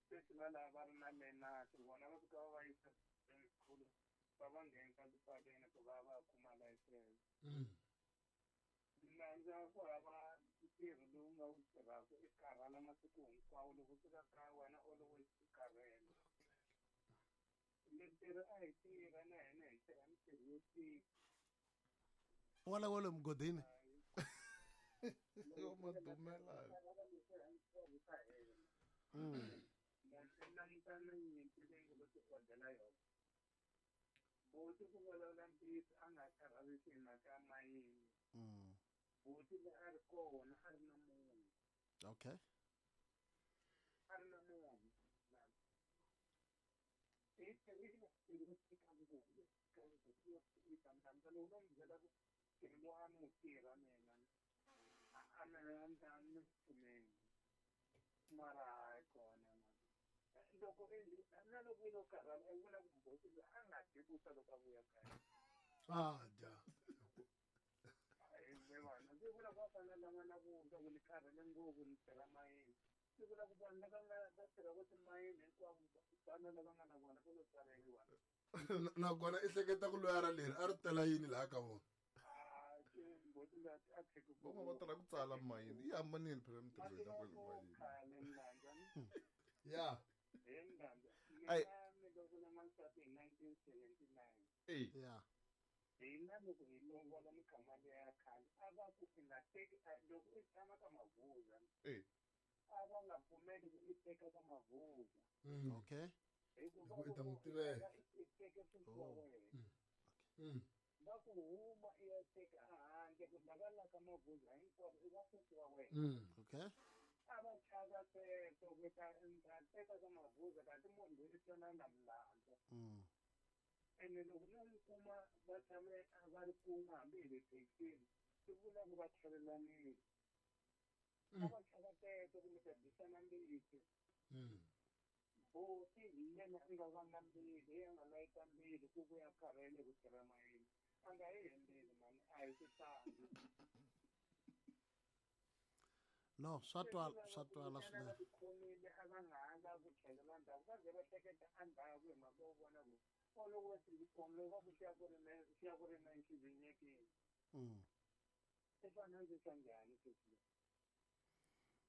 Sweswi va lava va ri na lenasi vona va fika va va yisa school va va nghenisa tipaleni ku va va kuma license. Landza ku hava ntirho lowu nga wu tirhaka i karhala masiku hinkwawo loko u fika kaya wena always u karhele. Mintirho a hi tirha na hina hi tirha mintirho yo tika. Wala wala mugodini. Yo madumela. Langutana nyimpi leyi nga lo ti odela yona. Buti ku vulavula ntiyiso a nga karhalisi hi mhaka ya mayini. Buti loyi a ri kona a ri na munhu. Okay. A ri na munhu. I tirhile ntirho wo tika ngopfu tika lowu no mi byela ku ntirho lowu a ni wu tirha mina a ni a ni pfumeli mara hayi kona mani loko na loko yi lo karhala i vula ku buti loyi a nga dyi vuswa loko a vuya kaya. A dya. Vanhu ndzi vula ku va fanele lava na vuswa ku ni karhele ngopfu ni tirha mayini. Swi vula ku vanhu lava nga va tirhaka timayini hinkwavo vana lava nga na vona va lo tswaleriwa. Nakona i hleketa ku loyara leri a ri tela yini laha ka vona? Van'wana va tala ku tsala mayini yi hambanile phela mintirho ya kwale mayini. Ya. Ai. Mina ni lovola n'wansati hi 1979. Ey. Ya. Hina loko hi lovola minkama liya ya khale a va ku i nga teki loko i tshama ka Mavuza. Ey. A va nga pfumeli ku i teka ka Mavuza. Okay. Hikuva Hi ku i ta n'wi tivela. i teke swilo swa wena. Va ku huma i ya teka ehandle ku lava la ka Mavuza hinkwavo i va sesi wa wena. Okay. A va chava sweswo ku ta ta teka ka Mavuza kanti munhu loyi i twana na milandzu. Ene loko no n'wi kuma va tshame va ri kun'we hambi hi le thekisini swi vula ku va tlhelelanile. A va chava teto kumbe ta dyisana mbitsi. Buti hi yena a nga vanga mbilu, hi yena a nga layita mbilu ku vuya karhele ku tirha mayini. A nga yi hembeli mani, a hi swihlangi. No, swa twala, swa twala swinene. Va tikhomile a va nga ha lavi ku tlhelela ndzhaku, va ze va hleketa endzhaku hi mhaka yo vona ku o loko va tikhomile va ku xi ya ku ri na xi ya ku ri na xivinyekile. I fanele ndzi swa njhani sweswi leswi?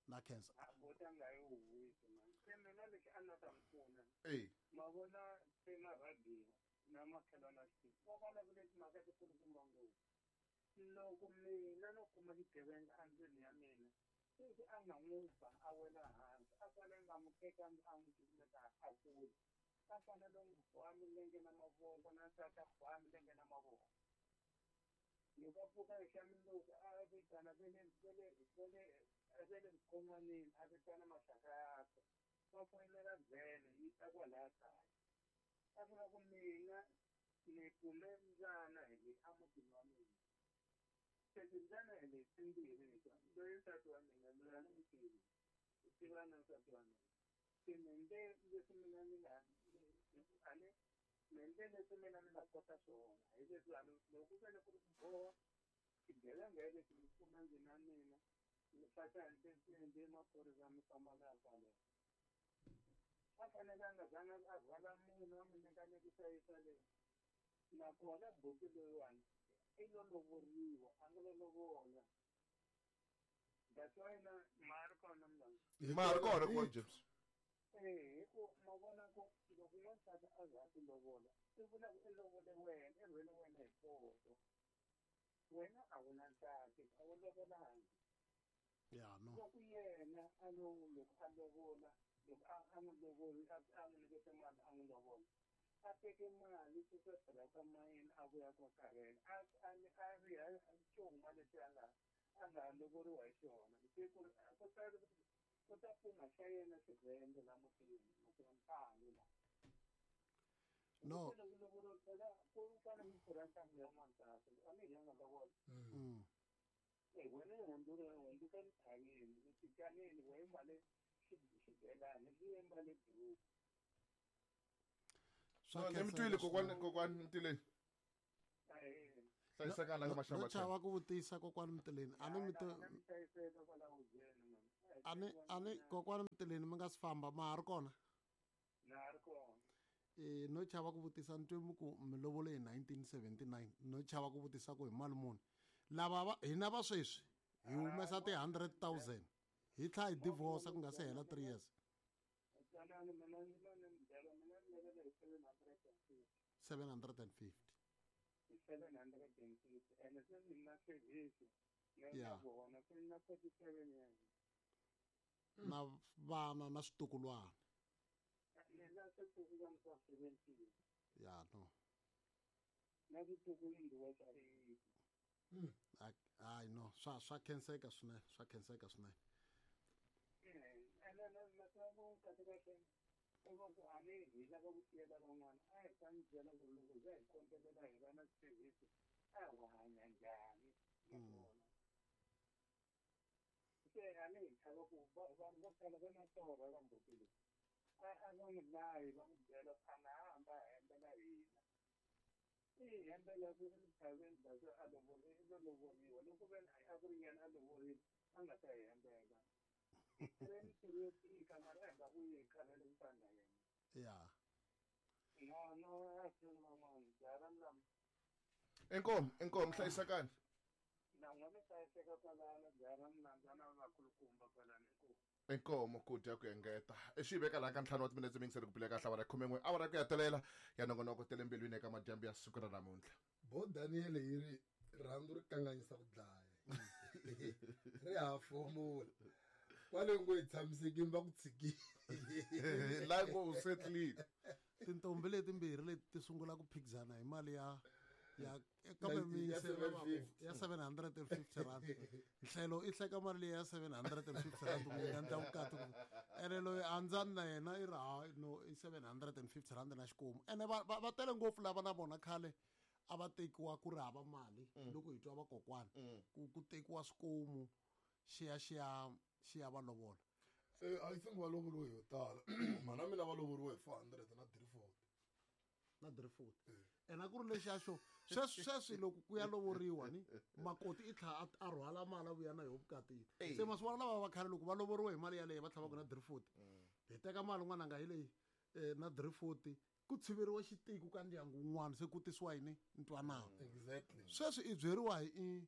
Na khensa. A buti a nga yi huhisi mani. Se mina lexi a ni ta n'wi pfuna. Ey. Ma vona se na radio na makhelwani wa xitichi va vulavule timhaka tikulukumba ngopfu. Loko mina no kuma xigevenga endlwini ya mina sweswi a nga n'wi ba a wela hansi a fanele nga n'wi teka a n'wi cukumeta a kule. A fanele n'wi boha milenge na mavoko na nsati a boha milenge na mavoko. Loko a pfuka hi xa mundzuku a vitana ve le ve le ve le ve le vukon'wanini a vitana maxaka yakwe va foyinela vhene yi ta kwalaya kaya. A vula ku mina ni kume mbyana hi leyi emutini wa mina. Se timbyana hi leti timbirhi letiwa loyi nsati wa mina loyi a ni n'wi tivi u tiva na nsati wa mina. Se ni endle leswi mina ni nga a ni ni endle leswi mina ni nga kota swona hi leswi a loko ku vele ku ri ku boha xigevenga hi lexi ni kuma ndzi na mina ni faxa ndzi maphorisa mi famba na ya kwale. A fanele a nga zanga a rhwala munhu a n'wi nyikanyikisa yisa le. Nakona buti loyiwani i lo lovoriwa a nga lo lovola. That's why na ma ri kona mlangeni. Ma ri kona kona James. Eh, hi ku ma vona ku loko n'wansati a za a ku lovola i vula ku i lovole wena i rhwele wena hi poto. Wena a wu na nsati a wu lovolangi. Ya no. Loko yena a lo loko a lovola loko a n'wi lovoli a n'wi nyikete mali a n'wi lovola a teke mali suka tirhaka mayini a vuya kwa karhele a a riha xuma lexi a nga a nga lovoriwa hi xona se ku ku ta ku ta pfuma xa yena xivhende la mutini mutini ntangu la. No. Loko lovoriwa phela ku fanele ku pfurha ntangu ya n'wansati a ni hi ya nga lovola. Wena i hundzula hundzuka emithaveni xicanini wehe mbale xibelani xi mbale duku. Swa Ni mi twile kokwani kokwani Mtileni. Hlayisekani la ka maxamba. No chava ku vutisa kokwani Mtileni. A ni mi ani ani kokwani Mtileni mi nga si famba ma ha ri kona? Na ri kona. No chava ku vutisa ni twe mi ku mi lovole hi 1979, no chava ku vutisa ku hi mali muni. Lava va hina va sweswi hi humesa ti 100,000 hi tlhela hi divorce ku nga se hela 3 years. Twanani, mina ni lo ni mi byela, mina ni lovele hi 750. 750. Hi 750, ene se ni na service na vona se ni na 47 years. Na vana na switukulwana. Mina switukulwana swa 17. Ya no. Na switukulwana swa 8. Hayi no, swa khenseka swinene, swa khenseka swinene. Ene na swa ku kahle kahle i va ku a ni hi lava ku tiyela van'wana, a hi ta mi byela ku loko hi za hi kondelela hi va na service a hi hanya njhani nakona. Se a ni hi chava ku vanhu vo tala va na torha ka mbuti leyi. A va n'wi layi va n'wi byela ku a nga ha hamba a hembela hina. I hembela ku ri chaveni bya se a lovoriwa, i lo lovoriwa. Loko ve ni a ku ri yena a lovorile, a nga ta hi hembela. Hi tirhe mintirho yo tika, mara a hi nga vuyi hi karhele ku fana na yena. No, no, a swi ri van'wana, jaha ra milambu. Inkomu, inkomu, hlayisekani. Na n'we mi hlayiseka kwalano, jaha ra milambu, na vakulukumba kwalano, inkomu. Inkomu ku dya ku engeta. I xi veka laha ka 5 wa timinetse mingiseri ku bile kahle awara 11, awara ku ya telela ya nongonoko tele mbilwini eka madyambu ya siku ra namuntlha. Bo Daniel yi ri rhandzu ri kanganyisa ku dlaya. Ri ha fomula. Kwale ngo hi tshamisekile va ku tshikile. La ngo u setlile. Tintombi letimbirhi leti ti sungula ku phikizana hi mali ya kambe mi Ya se va va ku, 750. ya 750 rand. Nhlelo i hleka mali leyi ya 750 rand ku nga endla vukati ku. Ene loyi a ndzani na yena i ri, ha, no, i 750 rand na xikomu. Ene va tele ngopfu lava na vona khale a va tekiwa ku ri hava mali loko hi twa vakokwana. Ku tekiwa swikomu xi ya va lovola. I think va lovoriwe yo tala. Mhana mina va lovoriwe hi 400 na 340. Na 340. Ene a ku ri lexiya xo, sweswi loko ku ya lovoriwa ni makoti i tlhela a rhwala mali a vuya na yoho vukatini. Se masiku lava va khale loko va lovoriwe hi mali yaleyo va tlhela va ku na 340. Hi teka mali n'wananga hi leyi na 340 ku tshiveriwa xitiko ka ndyangu wun'wana se ku tisiwa yini ntwanano. Sweswi i byeriwa hi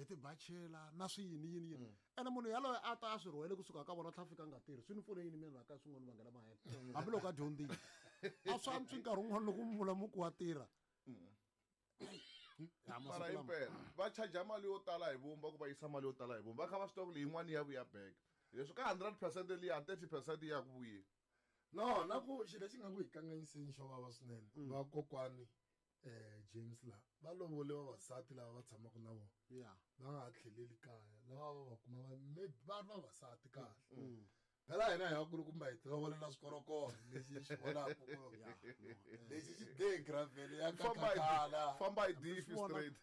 tibachela na swi yini yini yini. Ene munhu yaloye a ta a swi rhwele kusuka ka vona tlhela fika a nga tirhi. Swi ni pfune yini mina laha ka swin'wana vangela mahele. Hambiloko a dyondzile. A swi antswi nkarhi wun'wana loko mi vula mi ku wa tirha. Ya, masiku Mara lama. impela, va charge mali yo tala hi vumba ku va yisa mali yo tala hi vumba. Va kha va swi tiva ku leyi yin'wana ya vuya back. Leswi ka 100% liya, 30% ya ku vuyeni. No, na ku xilo lexi nga ku hi kanganyiseni xo vava swinene. Vakokwani, James la, va lovole vavasati lava va tshamaka na vona. Va nga ha tlheleli kaya, lava va va kuma va, maybe va ri vavasati kahle. Phela hina hi vakulukumba hi tilovolela swikorokoro lexi hi xi vonaka ku lexi xi de gravel ya Famba hi kakakala. famba hi diff Swi vona. straight.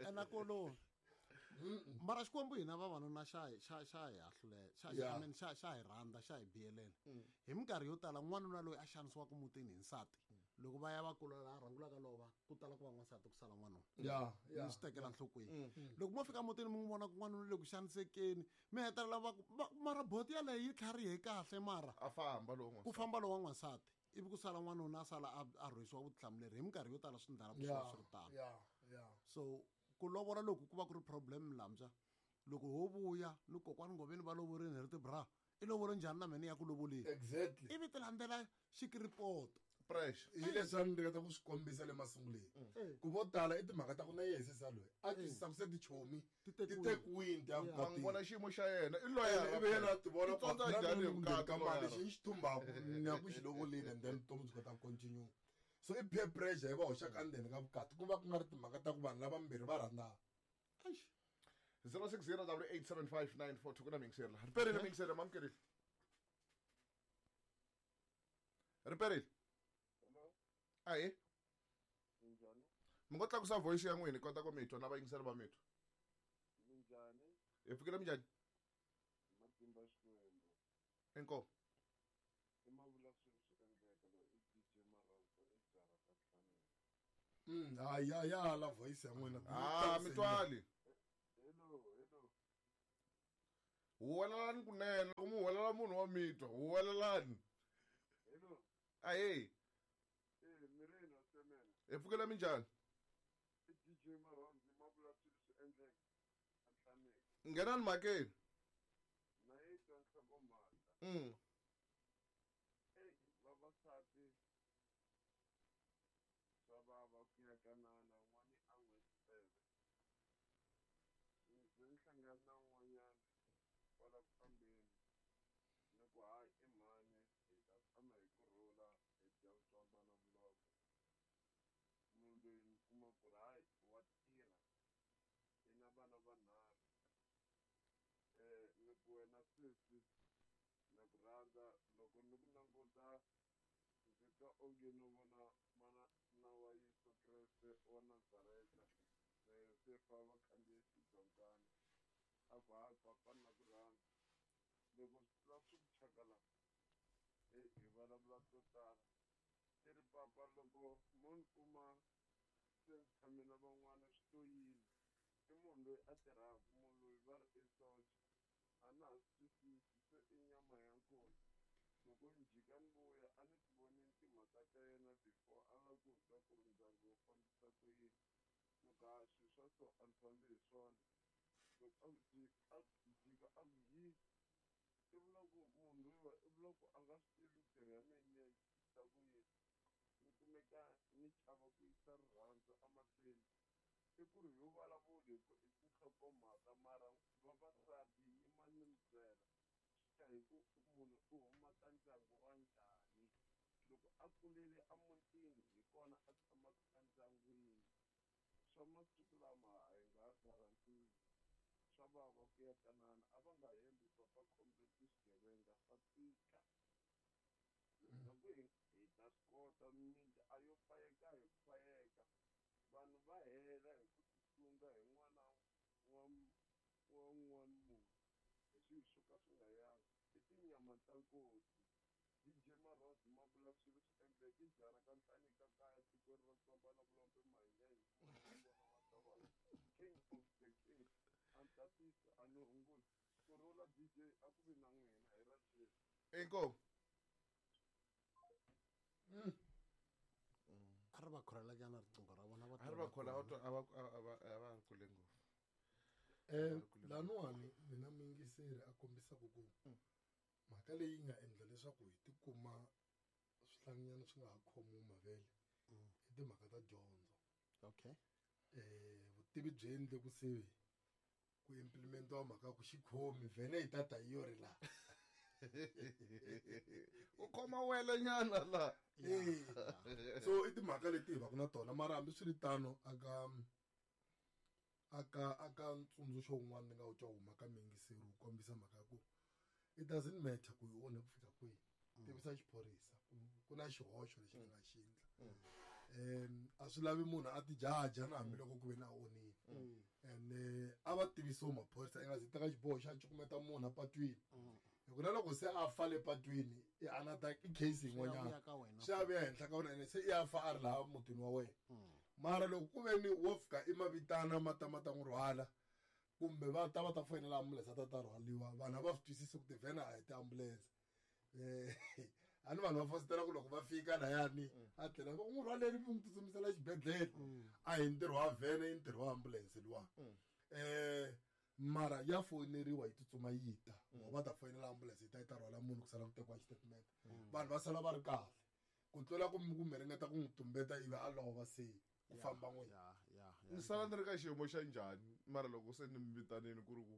Ene kolo. Mara Xikwembu hina vavanuna xa hi, xa, xa hi hahlule, xa, xa, I mean, xa, xa hi rhandza, xa hi biyelela. Hi minkarhi yo tala n'wanuna loyi a xanisiwaka mutini hi nsati, loko va ya va kula laha rhangulaka lova, ku tala ku va n'wansati ku sala n'wanuna. Mi swi tekela nhlokweni. Loko mo fika mutini mi n'wi vona ku n'wanuna le ku xanisekeni, mi hetelela va ku, va, mara boti yaleyo yi tlharihe kahle mara. A famba lowu n'wansati. Ku famba lowu wa n'wansati. Ivi ku sala n'wanuna a sala a rhwesiwa vutihlamuleri. Hi minkarhi yo tala swi ndala ku swi va swi ri tano. So ku lovola loko ku va ku ri problem lambya, loko ho vuya ni kokwani Ngoveni va lovorini hi ri ti-bra, i lovole njhani na mina ya ku lovoleni? Ivi ti landzela xikiripoto. Pressure. Hi leswi a ni ringeta ku swi kombisa le masunguleni. Ku vo tala i timhaka ta ku na yehe sesa loyi a twisisa ku se tichomi Ti ti tekiwile. tekiwile ti ya Wa n'wi vona vukatini. xiyimo xa yena, i loyara Ivi yena a ti vona I tsondza ku na njhani hi munhu vukati ka mali loyara? lexi ni xi thumbaka, ni ya ku xi lovoleni and then vutomi byi kota ku continue. So i peer pressure yi va hoxaka endzeni ka vukati, ku va ku nga ri timhaka ta ku vanhu lavambirhi va rhandzana. Eish. Zero six zero double eight seven five nine four two ku na miyingiseri laha. Riperile miyingiseri, mamukerile. Riperile. Hello. Ahee. Minjhani? Mi ngo tlakusa voice ya n'wina hi kota ku mi twa na vayingiseri va mi twa. Minjhani? Hi pfukile minjhani? Matimba Xikwembu. Inkomu. I mavula swilo swi endleka loyi i DJ Marhandzo i byara ta Nhlaneni. Hayi, ya, ya hala voice ya n'wina. Ah, mi twali. Hello, hello. Huwelelani kunene, loko mi huwelela munhu wa mi twa, huwelelani. Ahee. Mireni wa semela. Hi pfukela minjhani? I DJ Marhandzu ma vula swilo swi endleka a hlaneki. Nghenani mhakeni. Na yi twa nhlokomhaka. Eyi vavasati swa vava ku ya kanana n'wani a n'wi tseve. Ndzi ni hlangana na un'wanyana kwala ku fambeni ni ku hayi i mhani hi ta tshama hi kurhula hi dya ntswamba na vuloko. Munhu loyi ni kuma ku ri hayi wa tirha i na vana vanharhu. Ni ku wena sesi na ku rhandza loko ni ku languta ndzi twa onge no vona mana na wa Yesu Kreste wa Nazareta na Yosefa va khandziye xidonkana a ku hayi papa na ku rhandza loko swi tlula swi ku chakala hi vulavula to tala i ri papa loko mo ni kuma se ni tshame na van'wana swi to yini i munhu loyi a tirhaka munhu loyi va ri i socha a na ha swi twisisi se i nyama ya nkosi loko ni jika ni vuya a ni ti vonini timhaka ta yena before a la ku twa ku ri ndyangu wu fambisa ku yini ni ku ha swilo swa so a ni fambi hi swona loko a jika a ku yi i vula ku munhu loyiwa i vula ku a nga swi tivi mintirho ya mina ni ya yisa ku yini ni kumeka ni chava ku yisa rirhandzu emahlweni i ku ri yo vulavula hi ku i tinhlokomhaka mara vavasati yima ni mi byela swi ya hi ku munhu u huma ka ndyangu wa njhani loko a kulele emutini hi kona a tshamaka endyangwini swa masiku lama a hi nga guarantee swa vava ku ya kanana a va nga hembi papa comrade swigevenga swa tika loko hi ta swi kota mimiti a yo fayeka hi ku fayeka vanhu va hela hi ku tisunga hi n'wana wa un'wana munhu hi swilo swo ka swi nga yangi i tinyama ta nkosi DJ Marhandzu ma vula swilo swi endleke i jara ka Nhlanika kaya tikweni ra Ntswamba na Vulombe Mahingeni vona wa Tavana king of the king a ni tatisa a ni hunguti ku rhula DJ a ku vi na n'wina hi ra Jesu. Inkomu. A ri va khorela nyana riqingho ra vona va A ri va khola a va a va ri kule ngopfu. Laniwani mina muyingiseri a kombisaka ku mhaka leyi nga endla leswaku hi tikuma swihlanginyana swi nga ha khomiwi mavele i timhaka ta dyondzo. Okay. Vutivi byi endle ku se ku implementiwa mhaka ku xikhomi vhele hi tata hi yo ri laha. U khoma wele nyana la. So i timhaka leti hi va ku na tona mara hambiswiritano aka aka aka ntsundzuxo wun'wana ni nga wu twa huma ka muyingiseri wu kombisa mhaka ya ku it doesn't matter ku yi onhe ku fika kwihi tivisa xiphorisa ku na xihoxo lexi ni nga xi endla. A swi lavi munhu a tijaja na hambiloko ku ve na onhile and a va tivisiwe maphorisa i nga zi teka xiboho xa cukumeta munhu apatwini hi ku na loko se a fa le patwini i another i case yin'wanyana swi ya vuya henhla ka wena ene se i ya fa a ri laha mutini wa wena mara loko ku ve ni wo fika i mavitana ma ta ma ta n'wi rhwala kumbe va ta va ta foyinela ambulense a ta ta rhwaliwa vanhu a va swi twisisi ku tivhene a hi tiambulense a ni vanhu va fositela ku loko va fika layani a tlhela va n'wi rhwaleni mi n'wi tsutsumisela xibedhlele a hi ntirho wa vhene i ntirho wa ambulense luwa mara ya foyineriwa yi tsutsuma yi ta va ta foyinela ambulense yi ta yi ta rhwala munhu ku sala ku tekiwa xitatimende vanhu va sala va ri kahle ku tlula ku kumbe ringeta ku n'wi tumbeta ivi a lova se ku famba n'wina Ni sala ni ri ka xiyimo xa njhani mara loko se ni mi vitanini ku ri ku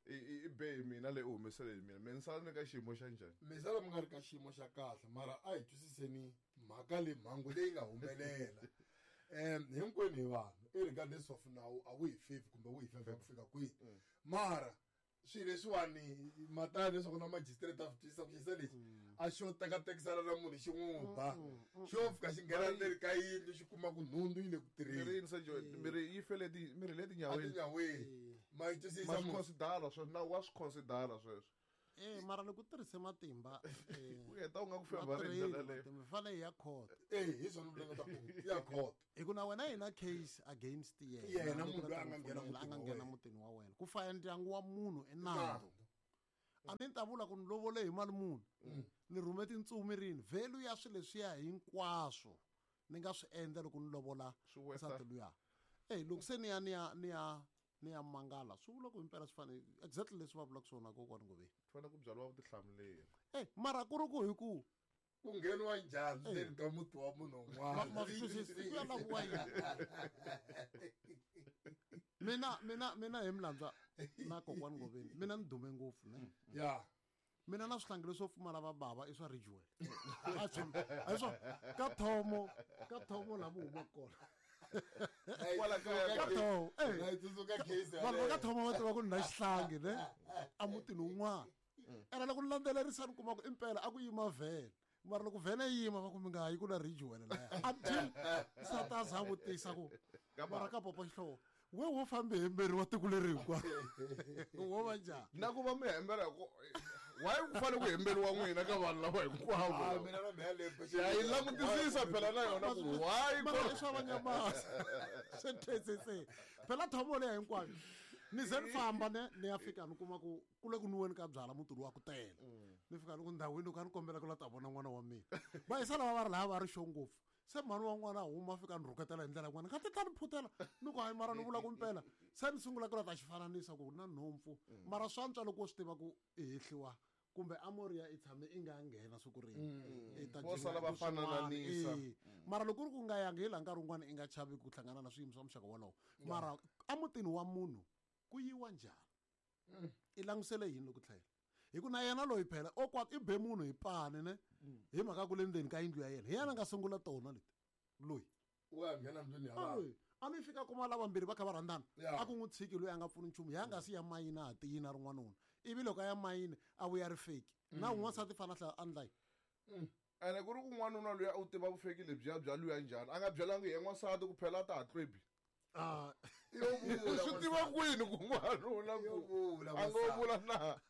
i be hi mina leyi u humesele hi mina me ni sala ni ri ka xiyimo xa njhani mi sala mi nga ri ka xiyimo xa kahle mara a hi twisiseni mhaka leyi mhangu leyi nga humelela hinkwenu hi vanhu irregardless of nawu a wu hi favor kumbe wu hi favor ku fika kwihi mara swilo leswiwani matana leswaku na magistrate a swi twisisa ku xisa lexi a xo tekatekisana na munhu xi n'wi ba xo fika xi nghena ndzeni ka yindlu xi kuma ku nhundzu yi le ku tirheni mirhi yi fele mirhi le tinyaweni tinyaweni ma yi twisisa ma swi considera sweswo nawu wa swi considera sweswo mara loko u tirhise matimba u heta u nga ku favor hi ndlela leyo mi fanele ya court hi swona mi ringeta ku ya court hi ku na wena hi na case against yena munhu loyi a nga nghena mutini wa wena ku faya ndyangu wa munhu i nandzu A ni ta vula ku ni lovole hi mali muni, ni rhume tintsumi rini, value ya swilo leswiya hinkwaswo ni nga swi endla loko ni lovola nsati luya. Loko se ni ya ni ya ni ya ni ya mangala, swi vula ku himpela swi fanele exactly leswi va vulaka swona kokwani Ngoveni. Fanele ku byariwa vutihlamuleri. Mara ku ri ku hi ku ku ngheniwa njhani ndzeni ka muti wa munhu un'wana? Ma swi twisisa, ku ya laviwa yini? Mina, mina, mina hi Mlandza na kokwani Ngoveni, mina ni dume ngopfu, ne? Mina na swihlangi leswo pfumala va bava i swa Ridgewell. A swi, a swi, ka thomo, ka thomo laha mi humaka kona. Kwala kaya Ka thomo, eh. Na yi tsundzuka case Vanhu va ka yaleyo. thomo va tiva ku ni na xihlangi, ne? A mutini wun'wana. Ene loko ni landzelerisa ni kuma ku impela a ku yima vhele. Mara loko vhele yi yima va ku mi nga ha yi ku na Ridgewell laya. Until nsati a za a vutisa ku, mara ka papa Xihlovo, we wo fambe hemberiwa tiko leri hinkwaro. Wo va njhani? Na ku va mi hembela hi ku, why ku fanele ku hemberiwa n'wina ka vanhu lava hinkwavo? Ah, mina na mhela leyi pfuxela. Ya yi langutisisa phela na yona ku why Mara i swa vanyamasa. Swi thwesese. Phela thomo leyi hinkwayo. Ni ze ni famba ne ni ya fika ni kuma ku ku le ku nwiweni ka byala muti lowu wa ku tele. Ni fika ni ku ndhawini loko a ni kombela ku la ta vona n'wana wa mina. Va yisa lava va ri lava va ri xo ngopfu. Se mhani wa n'wana a huma a fika ni rhuketela hi ndlela yin'wana. Nga ti ta ni phutela. Ni ku hayi mara ni vula ku mpela. Se ni sungula ku la ta xi fananisa ku na nhompfu. Mara swa antswa loko u swi tiva ku i hehliwa kumbe amoria i tshame i nga nghena siku rin'we. I ta Vo sala va jinga swin'wana. fanananisa. Mara loko ku ri ku nga yangi hi laha nkarhi wun'wana i nga chavi ku hlangana na swiyimo swa muxaka wolowo. Mara emutini wa munhu ku yiwa njhani? I langusele yini loko tlhela? Hi ku na yena loyi phela o kwa i be munhu hi pani ne? Hi mhaka ku le ndzeni ka yindlu ya yena. Hi yena a nga sungula tona leti. Loyi. Wa nghena ndlwini ya vanhu. Loyi. A ni fika kuma lava mbirhi va kha va rhandzana. Ya. A ku n'wi tshiki loyi a nga pfuni nchumu. Ya nga si ya mayini a ha tiyini a ri n'wanuna. Ivi loko a ya mayini a vuya ri fake. Na un'wansati fana a tlhela a ndla yini? Ene ku ri ku n'wanuna loyi a u tiva vufeki lebyiya bya luya njhani? A nga byelangi hi n'wansati ku phela a ta ha tlwebi. Yo vula Swi tiva kwini ku n'wanuna ku Yo vula a ngo n'wansati. vula na?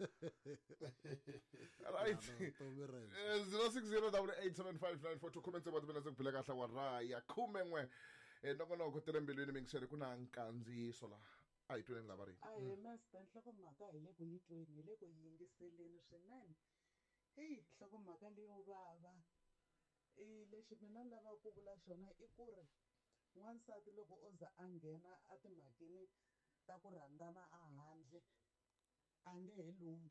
Right. No, no, no, Zero six zero double eight seven five nine four two. Khume tsevu wa timinetse ku bile kahle wa raya. Khume n'we. Nongonoko tele mbilwini mingiseri ku na nkandziyiso laha. A hi tweni lava ri. Ahee, master, nhlokomhaka hi le ku yi tweni, hi le ku yi yingiseleni swinene. Heyi, nhlokomhaka leyo vava. Lexi mina ni lavaka ku vula xona i ku ri n'wansati loko o za a nghena a timhakeni ta ku rhandzana a handle a nge he lunghi.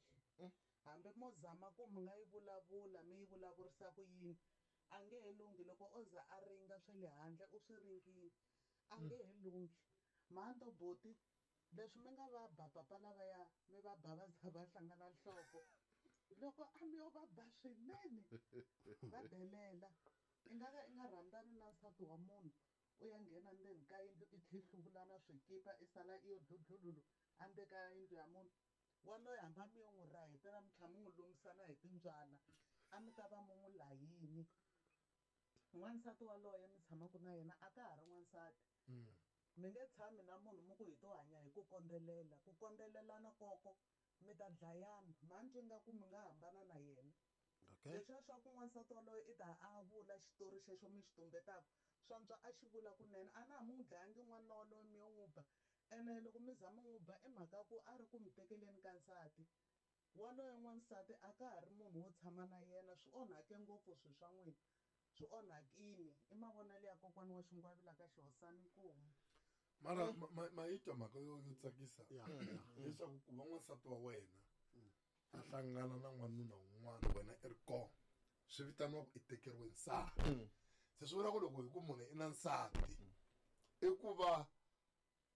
Hambi mo zama ku mi nga yi vulavula mi yi vulavurisa ku yini a nge he lunghi. Loko o za a ringa swa le handle u swi ringile a nge he lunghi. Mhanto boti leswi mi nga va ba papa lavaya mi va ba va za va hlangana nhloko loko a mi yo va ba swinene va delela i nga ka i nga rhandzani na nsati wa munhu u ya nghena ndzeni ka yindlu i tlhe hluvula na swikipa i sala i yo dludlululu endzeni ka yindlu ya munhu waloye hambi a mi yo n'wi rahetela mi tlhela mi n'wi lumisana hi timbyana a mi ta va mi n'wi layini. N'wansati waloye mi tshamaka na yena a ka ha ri n'wansati. Mi nge tshami na munhu mi ku hi to hanya hi ku kondzelela. Ku kondzelelana koko mi ta dlayana. Mhani twi nga ku mi nga hambana na yena. Leswiya swa ku n'wansati waloye i ta a vula xitori xexo mi xi tumbetaka swantswa a xi vula kunene. A na ha mi n'wi dlayangi n'wanuna waloye mi yo n'wi ba. Ene loko mi za mi n'wi ba i mhaka ku a ri ku mi tekeleni ka nsati. Waloye n'wansati a ka ha ri munhu wo tshama na yena. Swi onhake ngopfu swilo swa n'wina. Swi onhakile. I mavonelo ya kokwana wa Xingwavila ka Xihosana Nkomu. Mara ma yi twa mhaka yo tsakisa leswaku ku va n'wansati wa wena a hlangana na n'wanuna un'wana wena i ri kona swi vitaniwa ku i tekeriwe nsati. Se swi vula ku loko hi ku munhu i na nsati i ku va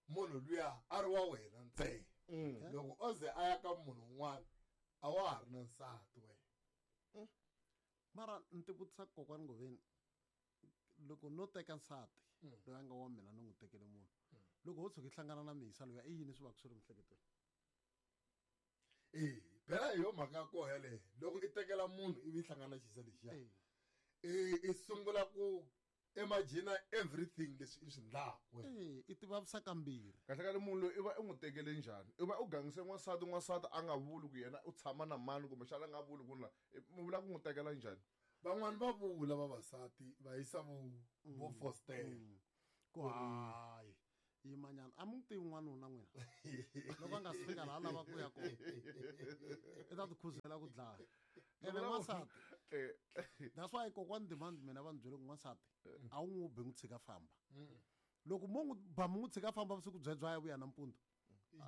munhu luya a ri wa wena ntsena. Loko o ze a ya ka munhu un'wana a wa ha ri na nsati wena. Mara ni ti vutisa kokwani Ngoveni, loko no teka nsati loyi a nga wa mina ni n'wi tekele munhu, loko ho tshuka hi hlangana na mihisa loyi i yini swi va ku swi ri miehleketweni? Phela hi yo mhaka ya koho yaleyo. Loko i tekela munhu ivi i hlangana na xisa lexiya, i sungula ku imagine everything leswi i swi endlaka wena. I ti vavisa kambirhi. Kahle kahle munhu loyi i va i n'wi tekele njhani? I va u gangise n'wansati, n'wansati a nga vuli ku yena u tshama na mani kumbexana a nga vuli ku na, mi vula ku n'wi tekela njhani? Van'wani va vula vavasati va yisa vo fostela. Ku hayi. Yimanyana a mi n'wi tivi n'wanuna n'wina loko a nga si fika laha a lava ku ya kona i ta ti khuzela ku dlaya. Ene n'wansati, that's why kokwani Demand mina va ni byele ku n'wansati a wu n'wi bi n'wi tshika famba. Loko mo n'wi ba mi n'wi tshika famba vusiku byebyo a ya vuya nampundzu,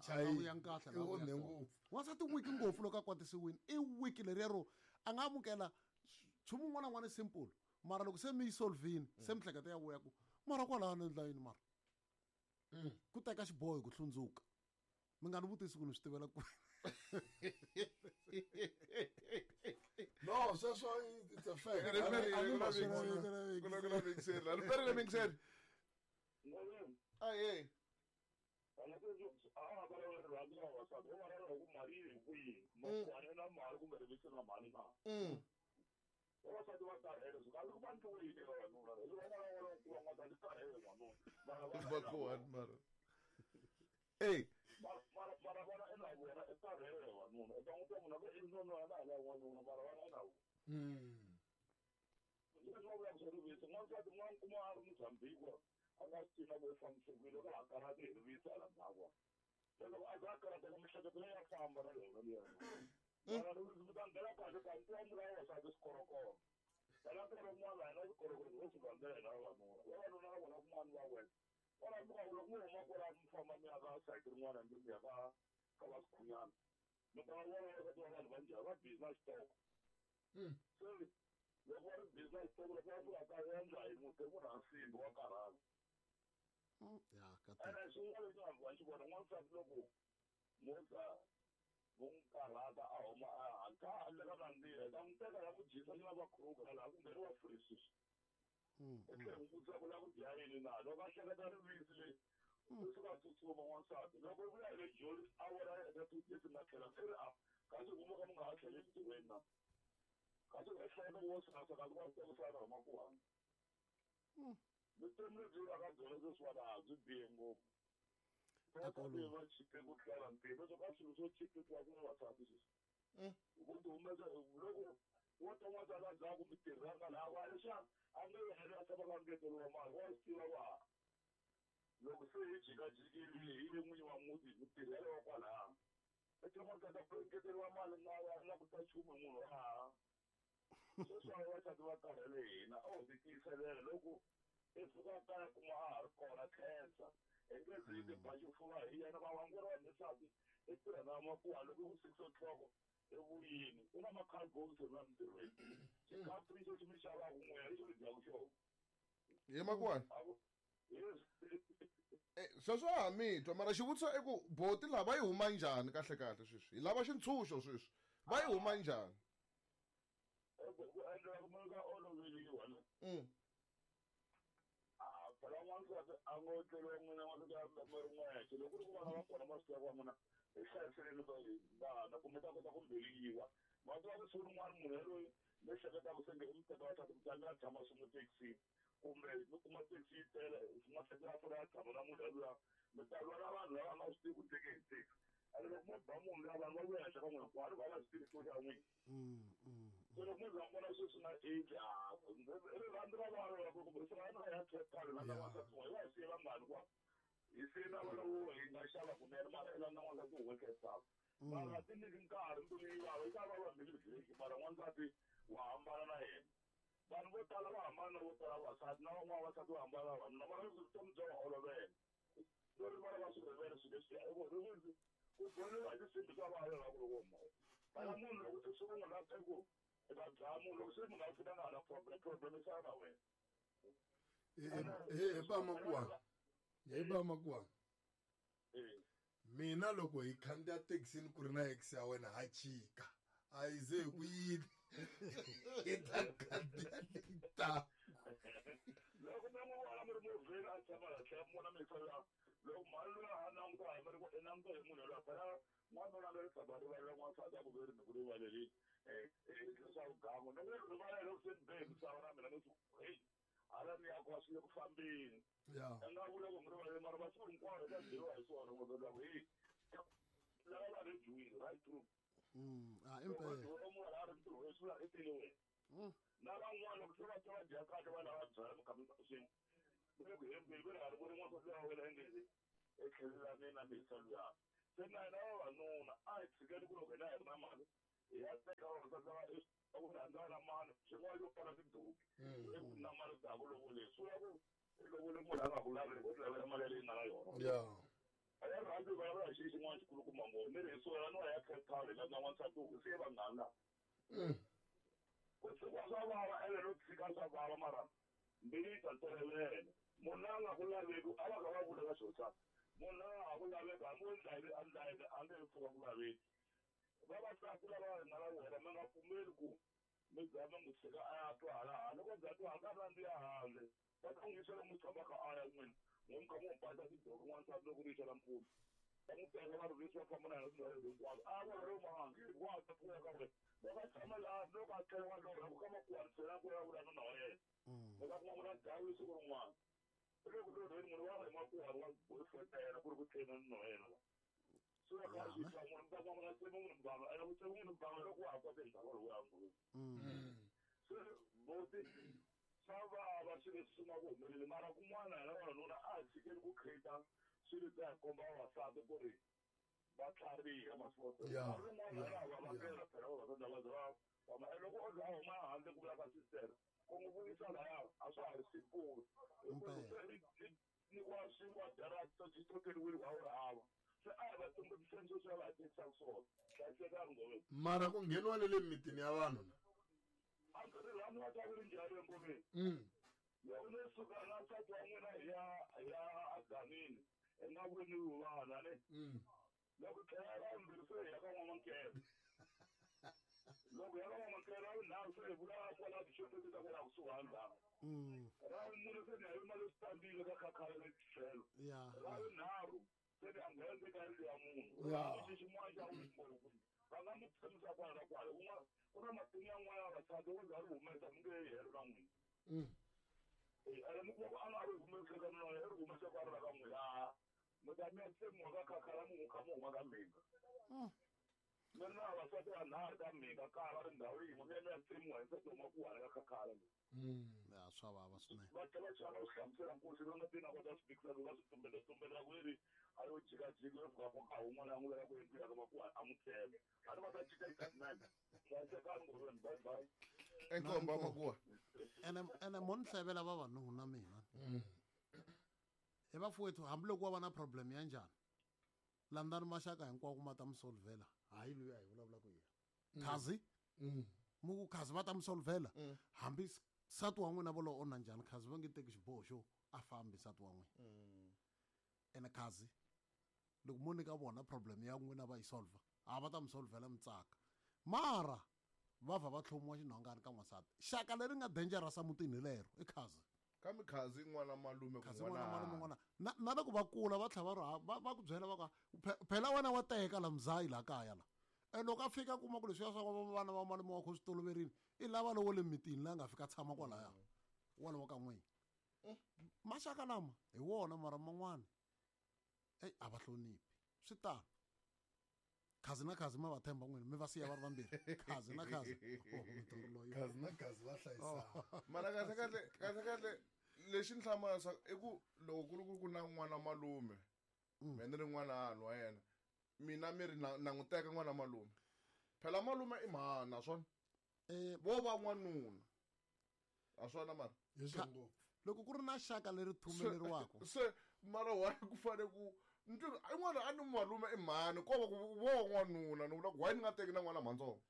a vuya nkahle I onhe ngopfu. N'wansati wiki ngopfu loko a kwatisiwini i wiki leriya ro a nga amukela nchumu wun'wana na wun'wana simple, mara loko se mi yi solvini se mihleketo ya vuya ku mara kwalaho ni endla yini mara ku teka xiboho hi ku hlundzuka. Mi nga ni vutisi ku ni swi tivela kwihi. No, sweswo it's a fact. Riperile mingiseri. Aye. Mara. Hey. Hi makwani. Sweswo a mi twa mara xivutiso i ku boti lava va yi huma njhani kahle kahle sweswi? Hi lava xintshunxo sweswi. Va yi huma njhani? Hi ba makuwa. Mina loko hi khandziya thekisini ku ri na ex ya wena ha chika. A yi ze ku yini. Hi ta khandziya leyi taka. Loko mi n'wi vona mi ri movheni a tshama laha tlhela mi vona mi loko mhani loyi a languta hi mi ri i languta hi munhu loyi phela n'wanuna loyi tshama rivalela n'wansati a ku veri ni ku rivalelini leswaku gangu ni n'wi rivalela loko se ni be hi misava na mina ni ku heyi hala ni ya kwa swi le ku fambeni. A nga vula ku mi rivalele mara masiku hinkwawo ta byeriwa hi swona ngopfu leswaku heyi lava va rejiwile right through. Impela. Munhu a ri ntirhweni swi vula i tele wena. Na van'wana loko se va twa va dya kahle va lava byala mi kha mi swin'we. Ve le ku hembeni ve le ha ri voni n'wansati wa wena engezi. Etlhelela na misa luya. Se na hina vavanuna a hi tshikeni ku loko hina hi ri na mali hi ya teka vavasati lava ku rhandza na mali swin'wana yo fana tiduki eku na mali ta ku lovole swi vula ku i lovole munhu a nga ku laveli u ti lavela mali yaleyi nga na yona. A ya rhandzi vulavula hi xilo xin'wana xikulukumba ngopfu ni ri hi sukela no ya Cape Town hi landza n'wansati wu siye vanghana lava. Ku tshikiwa swa vava ene no tshika swa vava mara mbilu yi ta tolovela. Munhu la nga ku laveki a va kha va vula ka xihosana munhu la nga ha ku laveki hambi wo ndla yini a ndla yini a nge he pfuka ku laveki. Vavasati lava hi nga na vona mi nga pfumeli ku mi za mi n'wi tshika a ya twa hala handle ko za twa a nga rhandzi ya handle va ta n'wi yisa lomu tshamaka a ya n'wina n'wi mi kha mi n'wi basa tidoko n'wansati loko ri yixa nampundzu va n'wi teka va rhurhisa va famba na yena tindhawu hinkwato a ya vona lomu hangi wa ta pfuka ka ri loko a tshama laha loko a tlhela wa lorha ku ka makuwarisela ku ya vula nuna wa yena mi ta kuma ku na dlawi siku rin'wana i le ku lorheni munhu wa ri hi makuwari wa boyfriend ya yena ku ri ku tlhela nuna wa yena la swi va kha swi twa munhu mi ta kuma ku na tsemi munhu mbanga ene ku tsemi munhu mbanga loko wa ha kote hi ndhawu lowu ya nghozi se boti swa vava swilo leswi swi nga ku humeleli mara kun'wana hina vavanuna a hi tshikeni ku create swilo swa hi komba vavasati ku ri va tlhariha masiku rin'wana ya va vangela phela vavasati lava za va famba ene loko o za a huma handle ku vula ka sister ku n'wi vuyisa laya a swa ha ri simple nyikiwa swinkwa dara xi tokeriwile wa wu ri hava se a hi va tumbuluxeni sweswi va va hakelisaka swona hlayisekani nghoveni. Mara ku ngheniwa na le mimitini ya vanhu na? A ndzi ri lani va ta ku ri njhani engomeni? Loko no suka na nsati wa n'wina hi ya hi ya aganini hi nga voniwi vana ne? Loko tlhela ra vumbirhi se hi ya ka n'wamankele. Loko hi ya ka n'wamankele ra vunharhu se hi vula kwala tixopeni ta kwala kusuhani laha. Ra vumune se ni ya yima le switandini ka khakhala le tlhelo. Ra vunharhu se ni ya nghena ndzeni ka yindlu ya munhu. Lexi xin'wana xa ngopfu va nga mi tshamisa kwala na kwala. Un'wana ku na matimu yan'wana ya vavasati loko za ri humesa mi nge he helo na n'wina. Ene mi kuma ku a nga ri humesi ka nuna wa yena i ri humesa kwala ka n'wina. Mi ta mi ya tsemiwa ka khakhala mi kha mi huma ka mhinga. Mi ri na vavasati vanharhu ka mhinga kaya va ri ndhawu yin'we mi ya mi ya tsemiwa hi nsati wa makuwani ka khakhala leyi. Ya swa vava swinene. Va tlhela va chava ku hlamusela nkosi va nga ti na kota swi fikisa va swi tumbela tumbela ku ri a yo jikajika yo fika ka un'wana a n'wi veka ku endliwa ka makuwani a n'wi tsema. A ri va ta cinca xitatimende. Hlayisekani ngolweni bye bye. Enkomba makuwa. Ene ene mo ni hlevela vavanuna mina. He vafowethu hambiloko wa va na problem ya njhani landzani maxaka hinkwawo ma ta mi solvela hayi loyi a hi vulavulaka hi yena khazi mi ku khazi va ta mi solvela hambi nsati wa n'wina volowo o na njhani khazi va nge teki xiboho xo a fambi nsati wa n'wina ene khazi loko mo nyika vona problem ya n'wina va yi solva a va ta mi solvela mi tsaka mara va vha va tlhomiwa xinhongani ka n'wansati xaka leri nga dangerous emutini hi lero i khazi Kambe khazi n'wana malume khazi n'wana malume n'wana na na loko va kula va tlhela va ri va va ku byela va ku phela wena wa teka la mzayi la kaya la and loko a fika kuma ku leswiya swa vana va malume wa kho swi toloverile i lava lowo le mitini la nga fika tshama kwalaya walowo ka n'wina maxaka lama hi wona mara man'wana eyi a va hloniphi swi tano khazi na khazi ma va themba n'wina mi va siya va ri vambirhi khazi na khazi khazi na khazi va hlayisana mara kahle kahle kahle kahle lexi ni hlamarisa i ku loko ku ri ku ku na n'wana malume me ni ri n'wana hanhu wa yena mina mi ri na na n'wi teka n'wana malume phela malume i mhani naswona vo va n'wanuna a swona mara hi swo ngopfu loko ku ri na xaka leri thumeleriwaka se mara why ku fane ku ni twi i n'wana a ni malume i mhani ko va ku vo n'wanuna ni vula ku why ni nga teki na n'wana mhantsongo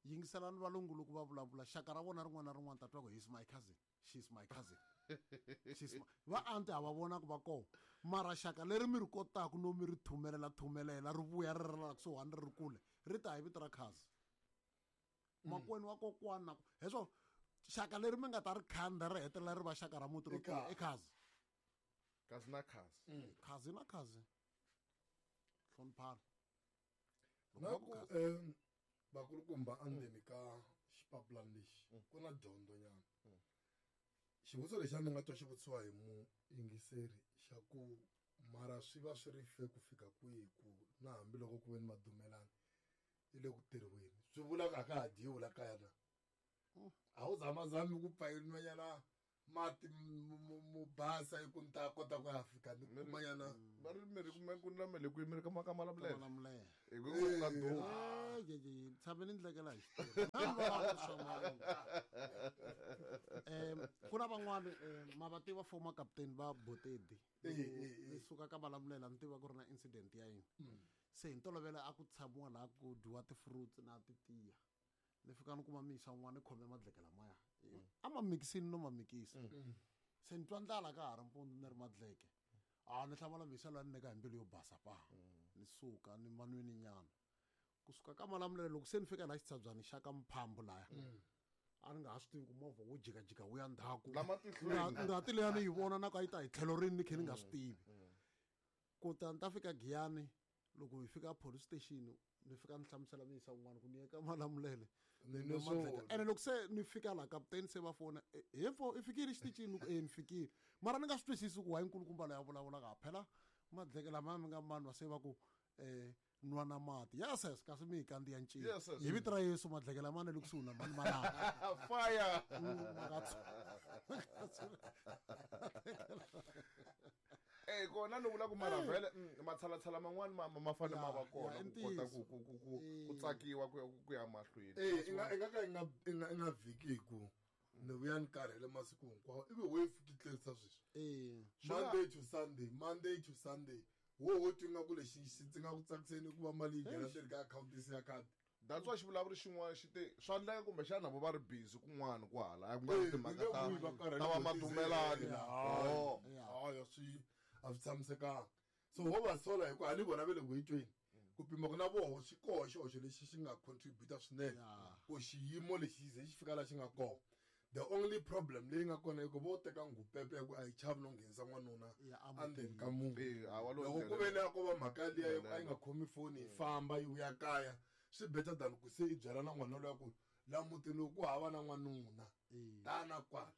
yingiselani valungu loko va vulavula xaka ra vona rin'wana na rin'wana ta twa ku he's my cousin she's my cousin she's my... va anti ha va vona ku va kona mara xaka leri mi ri kotaku no mi ri thumelela thumelela ri vuya ri ri la kusuhani ri ri kule ri ta hi vito ra cousin makwenu wa kokwana na hi swo xaka leri mi nga ta ri khanda ri hetelela ri va xaka ra muti ro tiya i khazi khazi na khazi khazi na khazi hloniphana na ku vakulukumba endzeni ka xipapulani lexi ku na dyondzo nyana xivutiso lexi a ni nga twa xi vutisiwa hi muyingiseri xa ku mara swi va swi ri fe ku fika kwihi ku na hambiloko ku ve ni madumelani i le ku tirhiweni swi vula ku a ka ha dyiwi la kaya na a wu zamazami ku pfa inwanyana Mati mo basa i ku ni ta kota ku ya fika ni kumanyana. Va ri mi ri kume ku na mele kwihi mi ri ka Malamulele. Malamulele. Hi ku ku nga duma. Eh, tshame ni ndlekela hi xitori. Ku na van'wani ma va tiva former captain va Botedi. Ni suka ka Malamulele ni tiva ku ri na incident ya yini. Se hi ntolovelo a ku tshamiwa laha ku dyiwa ti-fruits na titiya. Ni fika ni kuma misa un'wana ni khome madleke lamaya. A ma mikisini no ma mikisa. Se ni twa ndlala ka ha ri mpundzu ni ri madleke. A ni hlamala misa loyi a ni nyika hi mbilu yo basa pa. Ni suka ni manwini nyana. Kusuka ka Malamulele loko se ni fika laha xitshabyani xa ka Mphambu laya. A ni nga ha swi tivi ku movha wu jikajika wu ya ndzhaku. Lama tihlweni. Ngati leyi a ni yi vona na ku a yi ta hi tlhelo rini ni khe ni nga swi tivi. Kuta ni ta fika Giyani loko hi fika police station ni fika ni hlamusela muyisa un'wana ku ni ye ka Malamulele. Ni nwe swo. Ene loko se ni fika laha kaputeni se va fona, he mfo i fikile xitichini? Ni ku e ni fikile. Mara ni nga swi twisisi ku why nkulukumba loyi a vulavulaka phela madleke lamaya mi nga manwa se va ku nwa na mati. Yes, yes, kasi mi hi kandziya ncila. Yes, yes. Hi vito ra Yesu madleke lamaya ni le kusuhi na mani malama. Fire. Eh kona ni vula ku mara vhele matshalatshala man'wani ma fanele ma va kona ku kota ku tsakiwa ku ya mahlweni. Eh i nga ka i nga vhiki hi ku ni vuya ni karhele masiku hinkwawo ivi wo yi fiki tlerisa sweswi. Monday to Sunday, Monday to Sunday. Wo twi nga ku lexi ndzi nga ku tsakiseni ku va mali yi nghena ndzeni ka akhawunti ya khadi. That's why xivulavuri xin'wana xi te swa endleka kumbexana vo va ri busy kun'wana kwahala a ku nga ri timhaka ta va madumelani. Hayi swi a swi tshamisekanga. So ho va sola hikuva a ni vona ve le ku yi tweni. Ku pima ku na voho xi koho xihoxo lexi xi nga contribute swinene ku xiyimo lexi ze xi fika laha xi nga kona. The only problem leyi nga kona i ku vo teka ngupepe ya ku a yi chavi no nghenisa n'wanuna endzeni ka munhu. Loko ku ve ni a ko va mhaka liya a yi nga khomi foni yi famba yi vuya kaya swi better than ku se i byela na n'wana loyi ku la mutini lowu ku hava na n'wanuna tana kwala.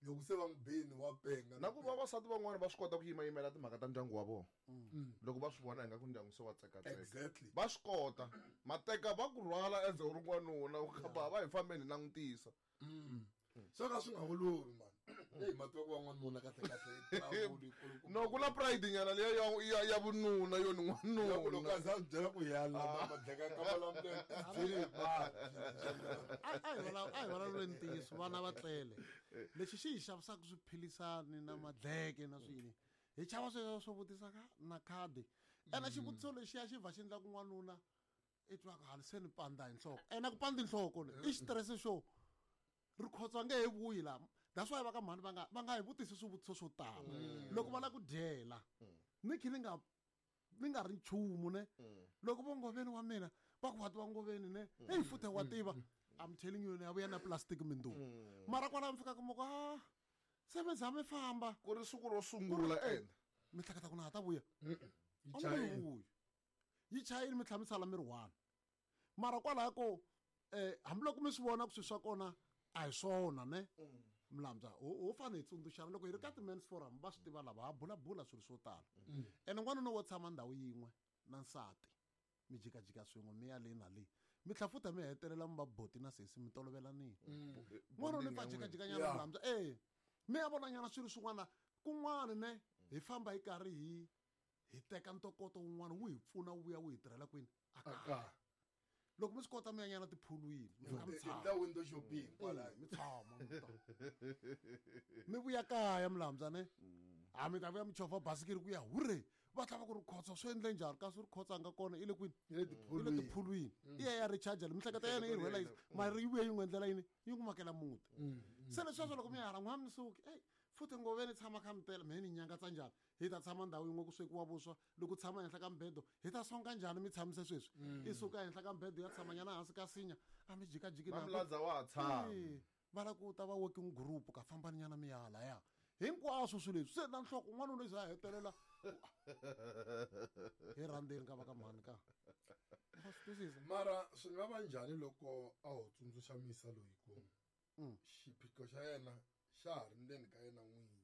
Loko se va n'wi bini wa penga. Na ku vavasati van'wana va swi kota ku yimayimela timhaka ta ndyangu wa vona. Loko va swi vona ingaku ndyangu se wa tsekatseka. Exactly. Va swi kota. Mateka va ku rhwala as u ri n'wanuna u kha va hi fambeni hi langutisa. Swo ka swi nga olovi man. Hey mativa ku va n'wanuna kahle kahle. No ku na pride nyana leya ya vununa yo ni n'wanuna. Loko a za byela ku ya la madleka ka Malamulele byeli ba. A hi vulavuleni ntiyiso vana va tlele. Lexi xi hi xavisaka swiphilisani na madleke na swini. Hi chava sweswo swo vutisa ka na khadi. Ene xivutiso lexiya xi vha xi endla ku n'wanuna i twa ku hali se ni panda hi nhloko. Ene ku panda nhloko le i xitirese xo ri khotswa nge he vuyi laha. That's why va ka mhani va nga hi vutisi swivutiso swo tala. Loko va lava ku dyela ni khe ni nga ri nchumu ne. Loko vo ngoveni wa mina va ku wa tiva ngoveni ne. Hey futhe wa tiva. I'm telling you ni ya vuya na plastic mindzuku. Mara kwala mi fika kuma ku se mi za mi famba. Ku ri siku ro sungula ene. Mi hleketa ku na ha ta vuya. Yi chayini mi tlhela mi sala mi ri one. Mara kwalaho ko hambiloko mi swi vona ku swilo swa kona a hi swona ne. Mlambya ho fanele hi tsundzuxana loko hi ri ka ti-men's forum va swi tiva lava ha bulabula swilo swo tala. Ene n'wanuna wo tshama ndhawu yin'we na nsati mi jikajika swin'we mi ya le na le mi tlhela futhi mi hetelela mi va boti na sesi mi tolovelanile. N'wanuna mi pfa jikajikanyana Mlambya mi ya vonanyana swilo swin'wana kun'wana ne hi famba hi karhi hi teka ntokoto wun'wana wu hi pfuna wu vuya wu hi tirhela kwini a kaya. Loko mi swi kota mi ya nyana tiphulwini mi fika mi tshama. Ta window shopping kwala. Mi tshama, mi ta. Mi vuya kaya Mlambya ne. A mi ta vuya mi chovha basikiri ku ya hure. Va tlhava ku ri khotsa swi endle njhani kasi ri khotsa nga kona i le kwini? I le tiphulwini. I le tiphulwini. I ya ya recharge le miehleketo ya yena yi rhwela yini? Mara yi vuye yi n'wi endlela yini? Yi n'wi makela muti. Se leswiya swa loko mi ya hala n'wana mi suki, ey futhi ngoveni tshama kha mi tele mehe ni nyangatsa njhani? Hi ta tshama ndhawu yin'we ku swekiwa vuswa loko tshama henhla ka mbedo hi ta songa njhani mi tshamise sweswi? I suka henhla ka mbedo ya tshama nyana hansi ka sinya a mi jikajiki na Mamladza wa ha tshama. Va lava ku ta va working group ka fambani nyana mi ya halaya. Hinkwaswo swilo leswi se na nhloko n'wanuna i za a hetelela hi rhandzeni ka va ka mhani ka. Va swi twisisa? Mara swi nga va njhani loko a ho tsundzuxa misa loyi ku xiphiqo xa yena xa ha ri ndzeni ka yena n'winyi.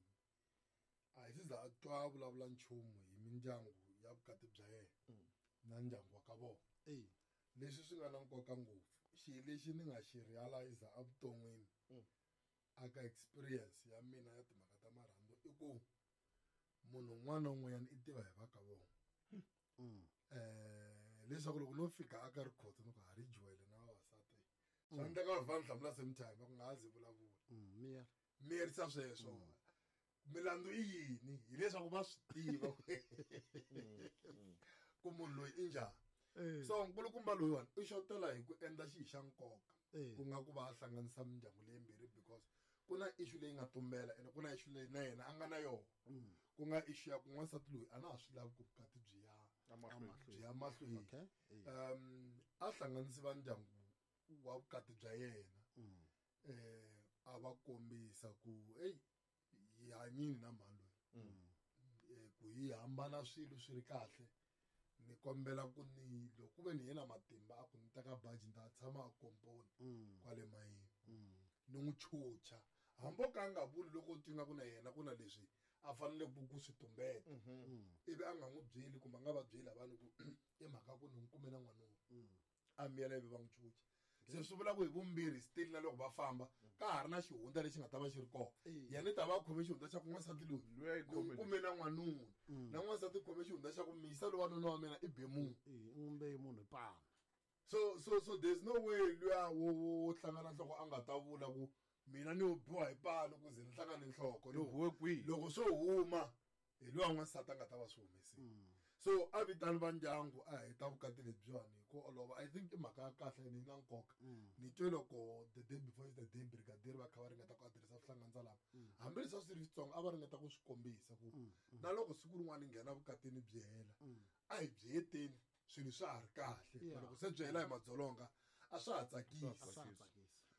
A hi se za a twa a vulavula nchumu hi mindyangu ya vukati bya yena na ndyangu wa ka vona. Leswi swi nga na nkoka ngopfu xilo lexi ni nga xi realize evuton'wini. Aka experience ya mina ya timhaka ta marhandzu i ku munhu un'wana na un'wanyana i tiva hi va ka vona. Leswaku loko no fika aka rikhotso ni ku ha ri juwele na vavasati swa endleka va va ni hlamula same time va ku nga ha zi vulavula. Miyerisa sweswo. Milandzu i yini? Hileswaku va swi tiva ku munhu loyi i njhani. So nkulukumba loyiwani i xotela hi ku endla xihi xa nkoka ku nga ku va a hlanganisa mindyangu leyimbirhi because ku na issue leyi nga tumbela ene ku na issue leyi na yena a nga na yona. Ku nga issue ya ku n'wansati loyi a na ha swi lavi ku vukati byi ya mahlweni. A hlanganisi va ndyangu wa vukati bya yena. A va kombisa ku hey hi hanyini na mhani loyi. Ku hi hambana swilo swi ri kahle ni kombela ku ni loko ku ve ni yena matimba a ku ni teka baji ni ta tshama a komponi kwale mayini ni n'wi chucha hambi o ka a nga vuli loko twi nga ku na yena ku na leswi a fanele ku swi tumbeta ivi a nga n'wi byeli kumbe a nga va byeli vanhu ku i mhaka ku ni n'wi kume na n'wanuna a miyela ivi va n'wi chucha. Se swi vula ku hi vumbirhi still na loko va famba ka ha ri na xihundla lexi nga ta va xi ri kona. Yena i ta va a khome xihundla xa ku n'wansati loyi ni kume na n'wanuna na n'wansati khome xihundla xa ku miyisa loyi wanuna wa mina i be munhu. N'wi be munhu hi pana. So there's no way luya wo hlangana nhloko a nga ta vula ku mina ni biwa hi pano ku ze ni hlangane nhloko. Loko swo huma hi luya n'wansati a nga ta va swi humesile. So a vitani va ndyangu a heta vukati lebyiwani hi ku olova. I think i mhaka ya kahle ni na nkoka. Ni twe loko the day before the day brigadier va kha va ringeta ku adiresa swihlanganisa lava. Hambileswi a swi ri switsongo a va ringeta ku swi kombisa ku na loko siku rin'wana nghena vukatini byi hela a hi byi heteni swilo swa ha ri kahle. Loko se byi hela hi madzolonga a swa ha tsakisi.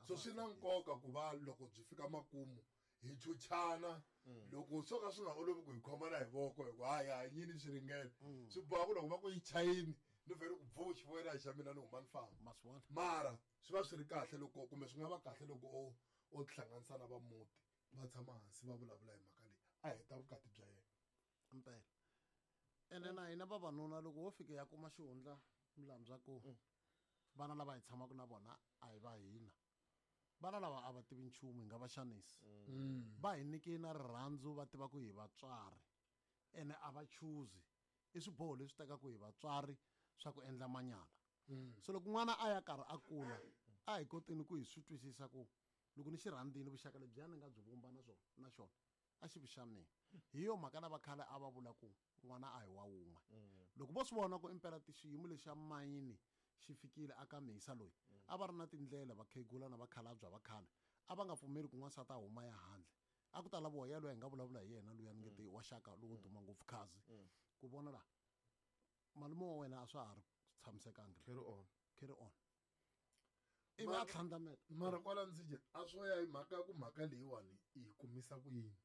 So swi na nkoka ku va loko byi fika makumu hi chuchana loko swo ka swi nga olovi ku hi khomana hi voko hi ku hayi hanyini swi ringene swi boha ku loko va ku yi chayini ni vhele ku bvu xivoyela xa mina ni huma ni famba. Mara swi va swi ri kahle loko kumbe swi nga va kahle loko o tihlanganisa na va muti va tshama hansi va vulavula hi mhaka leyi a heta vukati bya yena. Mpela ene na hina vavanuna loko wo fika ya kuma xihundla milandzu ku vana lava hi tshamaka na vona a hi va hina. Vana lava a va tivi nchumu hi nga va xanisi. Va hi nyike na rirhandzu va tiva ku hi vatswari ene a va chuzi i swiboho leswi tekaka hi vatswari swa ku endla manyala. So loko n'wana a ya karhi a kula a hi koteni ku hi swi twisisa ku loko ni xi rhandzini vuxaka lebyiya ni nga byi vumba na swona na xona a xi vi xa mina. Hi yo mhaka lava khale a va vula ku n'wana a hi wa wun'we. Loko vo swi vona ku impela xiyimo lexa mayini xi fikile aka mhisa loyi a va ri na tindlela vakhegula na vakhalabya va khale a va nga pfumeli ku n'wansati a huma ya handle. A ku ta laviwa ya loyi hi nga vulavula hi yena luya ni nge te wa xaka lowo duma ngopfu khazi ku vona la malume wa wena a swa ha ri tshamisekanga. Carry on. Ivi a tlhandlamela. Mara kwala ndzi a swo ya hi mhaka ku mhaka leyiwani i yi kumisa ku yini.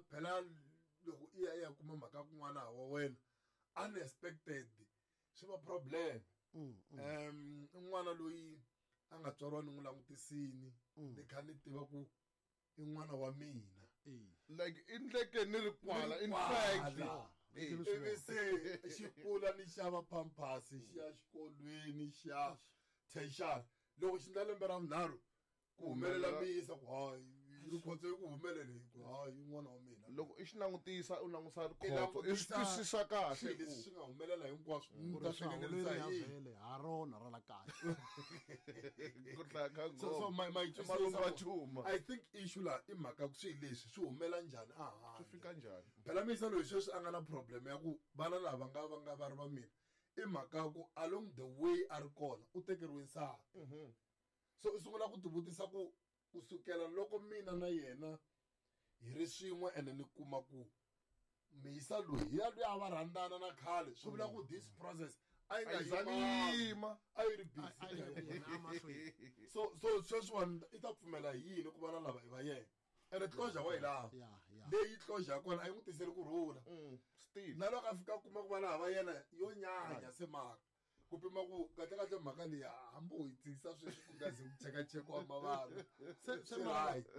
Phela loko i ya kuma mhaka kun'wana wa wena unexpected swi va problem. N'wana loyi a nga tswariwa ni n'wi langutisini ni kha ni tiva ku i n'wana wa mina. Like i ndleke ni ri kwala in fact. Ivi se xi kula ni xava pampers xi ya xikolweni xa tertiary. Loko xi ndla lembe ra vunharhu ku humelela miyisa ku hayi rikhotso ku humelele ku hayi n'wana wa mina. Loko i xi langutisa u langusa rikhotso i swi twisisa kahle ku leswi swi nga humelela hinkwaswo ta hlengeletisa hi vhele ha rona ra la kaya. Ku hlaya ka So my malumba chuma. I think issue la i mhaka ku swi leswi swi humela njhani a handle. Swi fika njhani? Phela miyisa loyi sweswi a nga na problem ya ku vana lava nga va ri va mina i mhaka ku along the way a ri kona u tekeriwe nsati. So i sungula ku tivutisa ku kusukela loko mina na yena hi ri swin'we ene ni kuma ku miyisa loyi ya loyi a va rhandzana na khale swi vula ku this process a yi nga yima a yi ri busy. So sweswiwani i ta pfumela hi yini ku vana lava i va yena ene closure wa yi lava leyi closure ya kona a yi n'wi tiseli ku rhula. Na loko a fika kuma ku vana va yena yo nyanya se mara ku pima ku kahle kahle mhaka leyi hambi u yi tshikisa sweswi ku nga ze ku chekachekiwa mavana. Se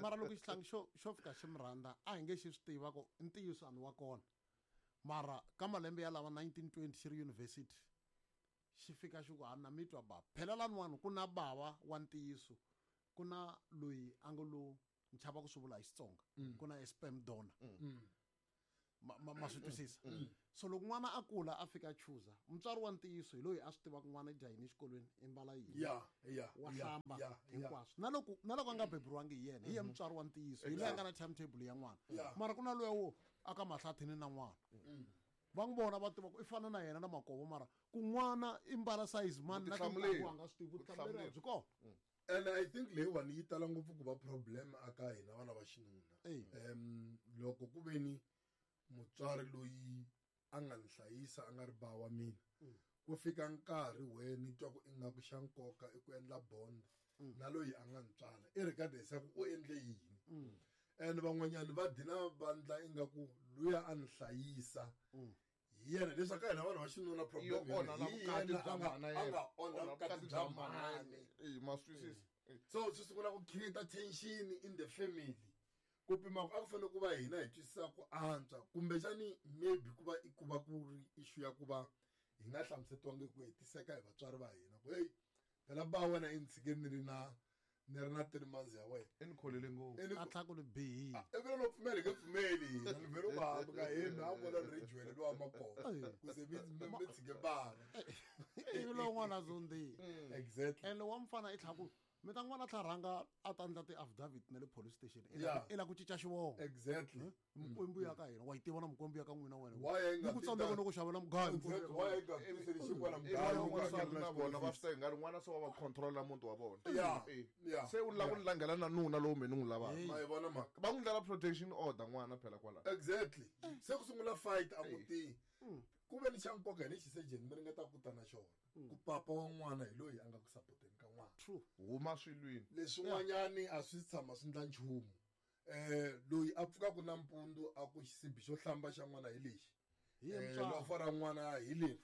mara loko xihlangi xo fika xi mi rhandza a hi nge xi swi tiva ku i ntiyiso a ni wa kona. Mara ka malembe ya lava 1920 xi ri university xi fika xi ku ha na mi twa bava. Phela laniwani ku na bava wa ntiyiso. Ku na loyi a nga lo ni chava ku swi vula hi Xitsonga. Ku na sperm donor. Ma swi twisisa. So loko n'wana a kula a fika a chuza, mutswari wa ntiyiso hi loyi a swi tivaka n'wana i dya yini exikolweni, i mbala yini. Wa hlamba hinkwaswo. Na loko a nga beburiwangi hi yena, hi yena mutswari wa ntiyiso, hi loyi a nga na timetable ya n'wana. Mara ku na loyi wo aka mahlathini na n'wana. Va n'wi vona va tiva ku i fana na yena na makovo, mara ku n'wana i mbala size mani na Vutihlamuleri. tintangu a nga swi tivi, vutihlamuleri byi kona. And I think leyiwani yi tala ngopfu ku va problem aka hina vana va xinuna. Loko ku ve ni mutswari loyi a nga ni hlayisa a nga ri ba wa mina, ku fika nkarhi we ni twa ku ingaku xa nkoka i ku endla bond na loyi a nga ni tswala, irregardless ya ku u endle yini. And van'wanyani va dina vandla ingaku luya a ni hlayisa hi yena, leswaku ka hina vanhu va xinuna problem Yo onha na hi vukati yena bya mhana a yena. nga onha Onha vukati vukati bya bya mhana mhani. yena. Ma swi twisisa. So swi sungula ku create tension in the family. Ku pima ku a ku fanele ku va hina hi twisisa ku antswa, kumbexani maybe ku va i ku va ku ri issue ya ku va hi nga hlamusetiwangi ku hetiseka hi vatswari va hina, ku hey, phela ba wena i ni tshike ni ri na ni ri na 3 months ya wena. I ni kholele ngopfu. I ni A tlhela ku ni bihile. A, i vele no pfumeli, hi nge pfumeli hina. Ni vele u va hambi ka hina, a vona ni ri jwele lowa makoko. Ku se mi tshike bava. Ivi lowu n'wana a zondzile. Ene wa mfana i tlhela ku, mi ta n'wana a tlhela rhanga a ta endla ti-affidavit na le police station. I la ku cinca xivongo. Mikwembu ya ka hina, wa yi tiva na mikwembu ya ka n'wina wena. Why yi nga Ni ku tsandzeka ti no ku xavela mugayo. Exactly. Why yi nga tiseli xinkwa na Ivi mugayo? van'wana Yi nga na na vona va school swi teka ngari n'wana se wa va control-a muti wa vona. Se u lava ku langela na nuna lowu mina ni n'wi lavaka. Ma yi vona mhaka? Va n'wi ndlela protection order n'wana phela kwalaho. Exactly. Se ku sungula fight a mutini. Ku ve ni xa nkoka hi lexi surgeon mi ringeta ku ta na xona. Ku papa wa n'wana hi loyi a nga ku supporteni ka n'wana. True. Huma swilwini. Leswin'wanyani a swi tshama swi ndla nchumu. Loyi a pfukaka nampundzu a ku xisibi xo hlamba xa n'wana hi lexi. Hi yena mutswari. Lofo ra n'wana hi leri.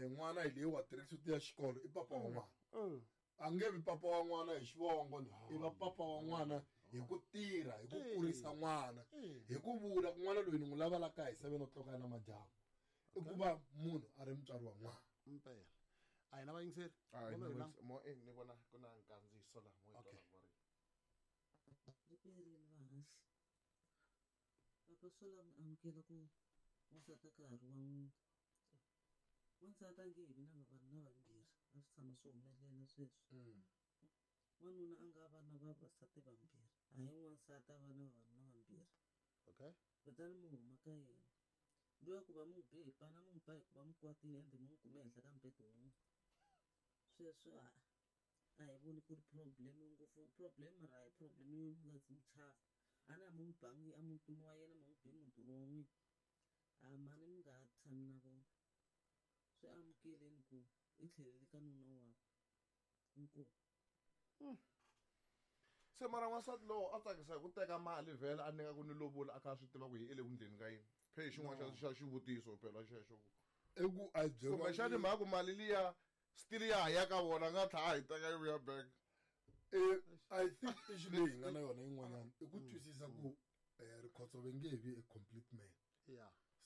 N'wana hi leyi wa tracksuit ya xikolo i papa wa n'wana. A nge vi papa wa n'wana hi xivongo ni, i va papa wa n'wana hi ku tirha, hi ku kurisa n'wana, hi ku vula ku n'wana loyi ni n'wi lava la kaya hi 7 o'clock ya namadyambu. I ku va munhu a ri mutswari wa n'wana. Mpela. A hi na vayingiseri? A hi Vona na hi la. vayingiseri. Mo, ni vona ku na nkandziyiso laha, mo hi Okay. twa va ri. Riperile vahaxi. Papa swo lava mi amukela ku wansati a ka ha ri wa n'wina. Wansati a nge he vi na vavanuna vambirhi, a swi tshama swi humelela sweswo. Wanuna a nga va na vavasati vambirhi, hayi n'wansati a va na vavanuna vambirhi. Kutani mi huma ka yena. Luya ku va mi n'wi be hi pana, mi n'wi ba hi ku va mi kwatile ende mi n'wi kume ehenhla ka mbedo wun'we. Sweswo a hi voni ku ri problem ngopfu, problem mara a hi problem yo mi nga zi mi chava. A na mi n'wi bangi emutini wa yena, mi n'wi be mutini wa n'wina. A mhani mi nga ha tshami na vona. Swi amukeleni ku i tlhelele ka nuna wakwe. Inkomu. Se mara n'wansati lowo a tsakisa hi ku teka mali vhele a nyika ku ni lovola a kha a swi tiva ku hi i le ku ndleni ka yini. Phe hi xin'wana xa xivutiso phela xexo ku. I ku a byeriwa Kumbexani ni- mhaka ku mali liya still ya ha ya ka vona, a nga tlhela a yi teka yi vuya back. I think issue leyi hi nga na yona yin'wanyana i ku twisisa ku Rikhotso ve nge vi a complete man.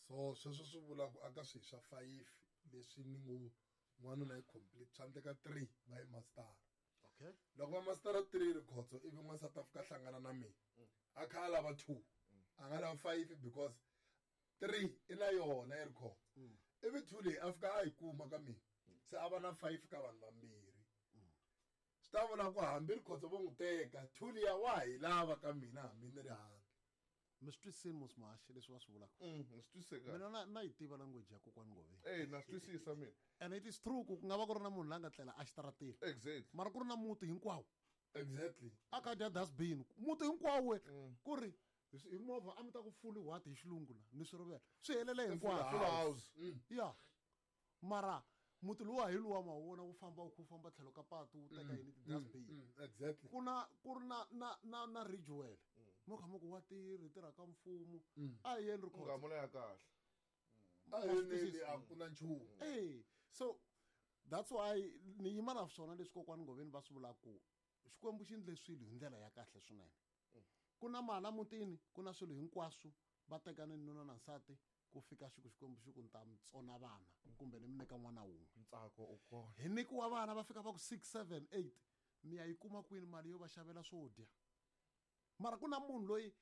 So sweswo swi vula ku aka swihi swa 5 leswi ni ngo n'wanuna i complete, swa endleka 3 va yi mastara. Loko va mastara 3 Rikhotso ivi n'wansati a fika a hlangana na mina, a kha a lava 2, a nga lava 5 because 3 i na yona i Rikhotso. Ivi 2 leyi a fika a yi kuma ka mina, se a va na 5 ka vanhu vambirhi. Swi ta vula ku hambi Rikhotso vo n'wi teka, 2 liya wa ha yi lava ka mina hambi ni ri handle. Mi swi twisisile mos Mahaxi leswi va swi vulaka? Ni swi twisise kahle. Mina na yi tiva language ya kokwani Ngoveni. Na swi twisisa mina. And it is true ku ku nga va ku ri na munhu la nga tlela exitarateni. Mara ku ri na muti hinkwawo. A kha dya dustbin. Muti hinkwawo we. Ku ri hi movha a mi ta ku fully what hi xilungu la, ni swi rivele. Swi helele I hinkwaswo. full house. Ya. Mara muti luwa hi luwa ma wu vona wu famba wu famba tlhelo ka patu wu teka yini ti-dustbin. Ku na, ku ri na, na, na, na Ridgewell. Mo kha mo ku wa tirhi, hi tirha ka mfumo. A hi yeni Rikhotso. Ngamula ya kahle. A hi yeni, a ku na nchumu. So that's why ni yima na swona leswi kokwani Ngoveni va swi vulaka ku Xikwembu xi endle swilo hi ndlela ya kahle swinene. Ku na mali emutini, ku na swilo hinkwaswo, va tekane nuna na nsati, ku fika siku Xikwembu xi ku ni ta mi tsona vana kumbe ni mi nyika n'wana wun'we. Ntsako u kona. Hi nyikiwa vana va fika va ku 6, 7, 8. Mi ya yi kuma kwini mali yo va xavela swo dya? Mara ku na munhu loyi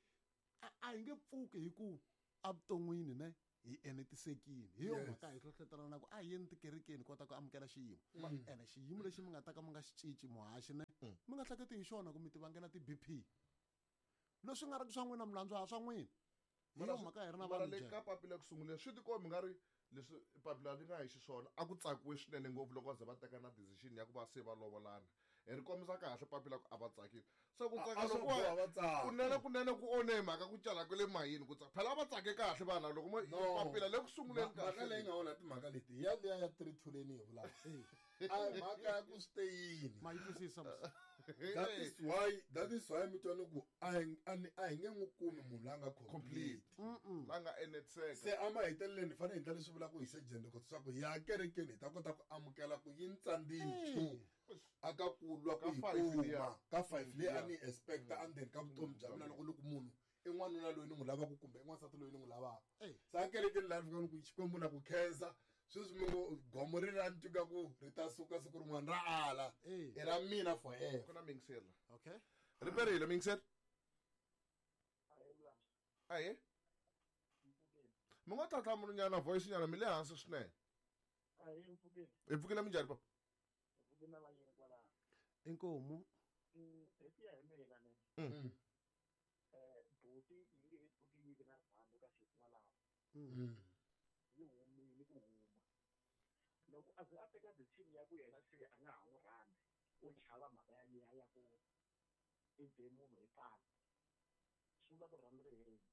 a hi nge pfuki hi ku evuton'wini ne hi enetisekile. Hi yo mhaka hi hlohlotelana na ku a hi yeni tikerekeni kota ku amukela xiyimo. Ene xiyimo lexi mi nga ta ka mi nga xi cinci muhaxi ne mi nga hleketi hi xona ku mi ti vangela ti-BP. Leswi nga ri ku swa n'wina milandzu a swa n'wina. Hi yo mhaka hi ri na vanhu le ka papila ku sunguleni swi tikombi nga ri leswi papila ri nga hi xiswona a ku tsakiwe swinene ngopfu loko va ze va teka na decision ya ku va se va lovolana. Hi ri kombisa kahle papila ku a va tsakile. Se ku tsaka loko kunene kunene ku one mhaka ku cala kwale mayini ku tsaka. Phela a va tsake kahle vana loko mo papila le ku sunguleni kahle. Mhaka leyi nga onha timhaka leti ya liya ya 3-2 leyi ni yi vulaka. A mhaka ya ku swi te yini. Ma yi twisisa mos. That is why mi twa ni ku a hi nge n'wi kumi munhu la nga complete. La nga enetiseka. Se a maheteleleni hi fanele hi endla leswi vulaka hi surgeon loko leswaku hi ya kerekeni hi ta kota ku amukela ku yi ni tsandzile 2 aka ku lwa ku yi kuma ka 5 leyi a ni expecta endzeni ka vutomi bya mina loko ni ku munhu i n'wanuna loyi ni n'wi lavaka kumbe i n'wansati loyi ni n'wi lavaka. Se a kerekeni laha ni fika ni ku Xikwembu na ku khensa sweswi mi ngo gomo ri ra ni twa ku ri ta suka siku rin'wana ra ala i ra mina forever. Ku na miyingiseri la. Okay. Ri perile miyingiseri. Ahe. Mi ngo tlhatlhamunyana voice nyana mi le hansi swinene. Hi pfukile minjhani papa? Inkomu. Buti yi nge he pfuki yi vi na rirhandzu ka sesi walawo. Yi humile ku huma. Loko a ze a teka decision ya ku yena se a nga ha n'wi rhandzi, u chava mhaka yaliya ya ku i be munhu hi pala. Swi vula ku rirhandzu ri herile.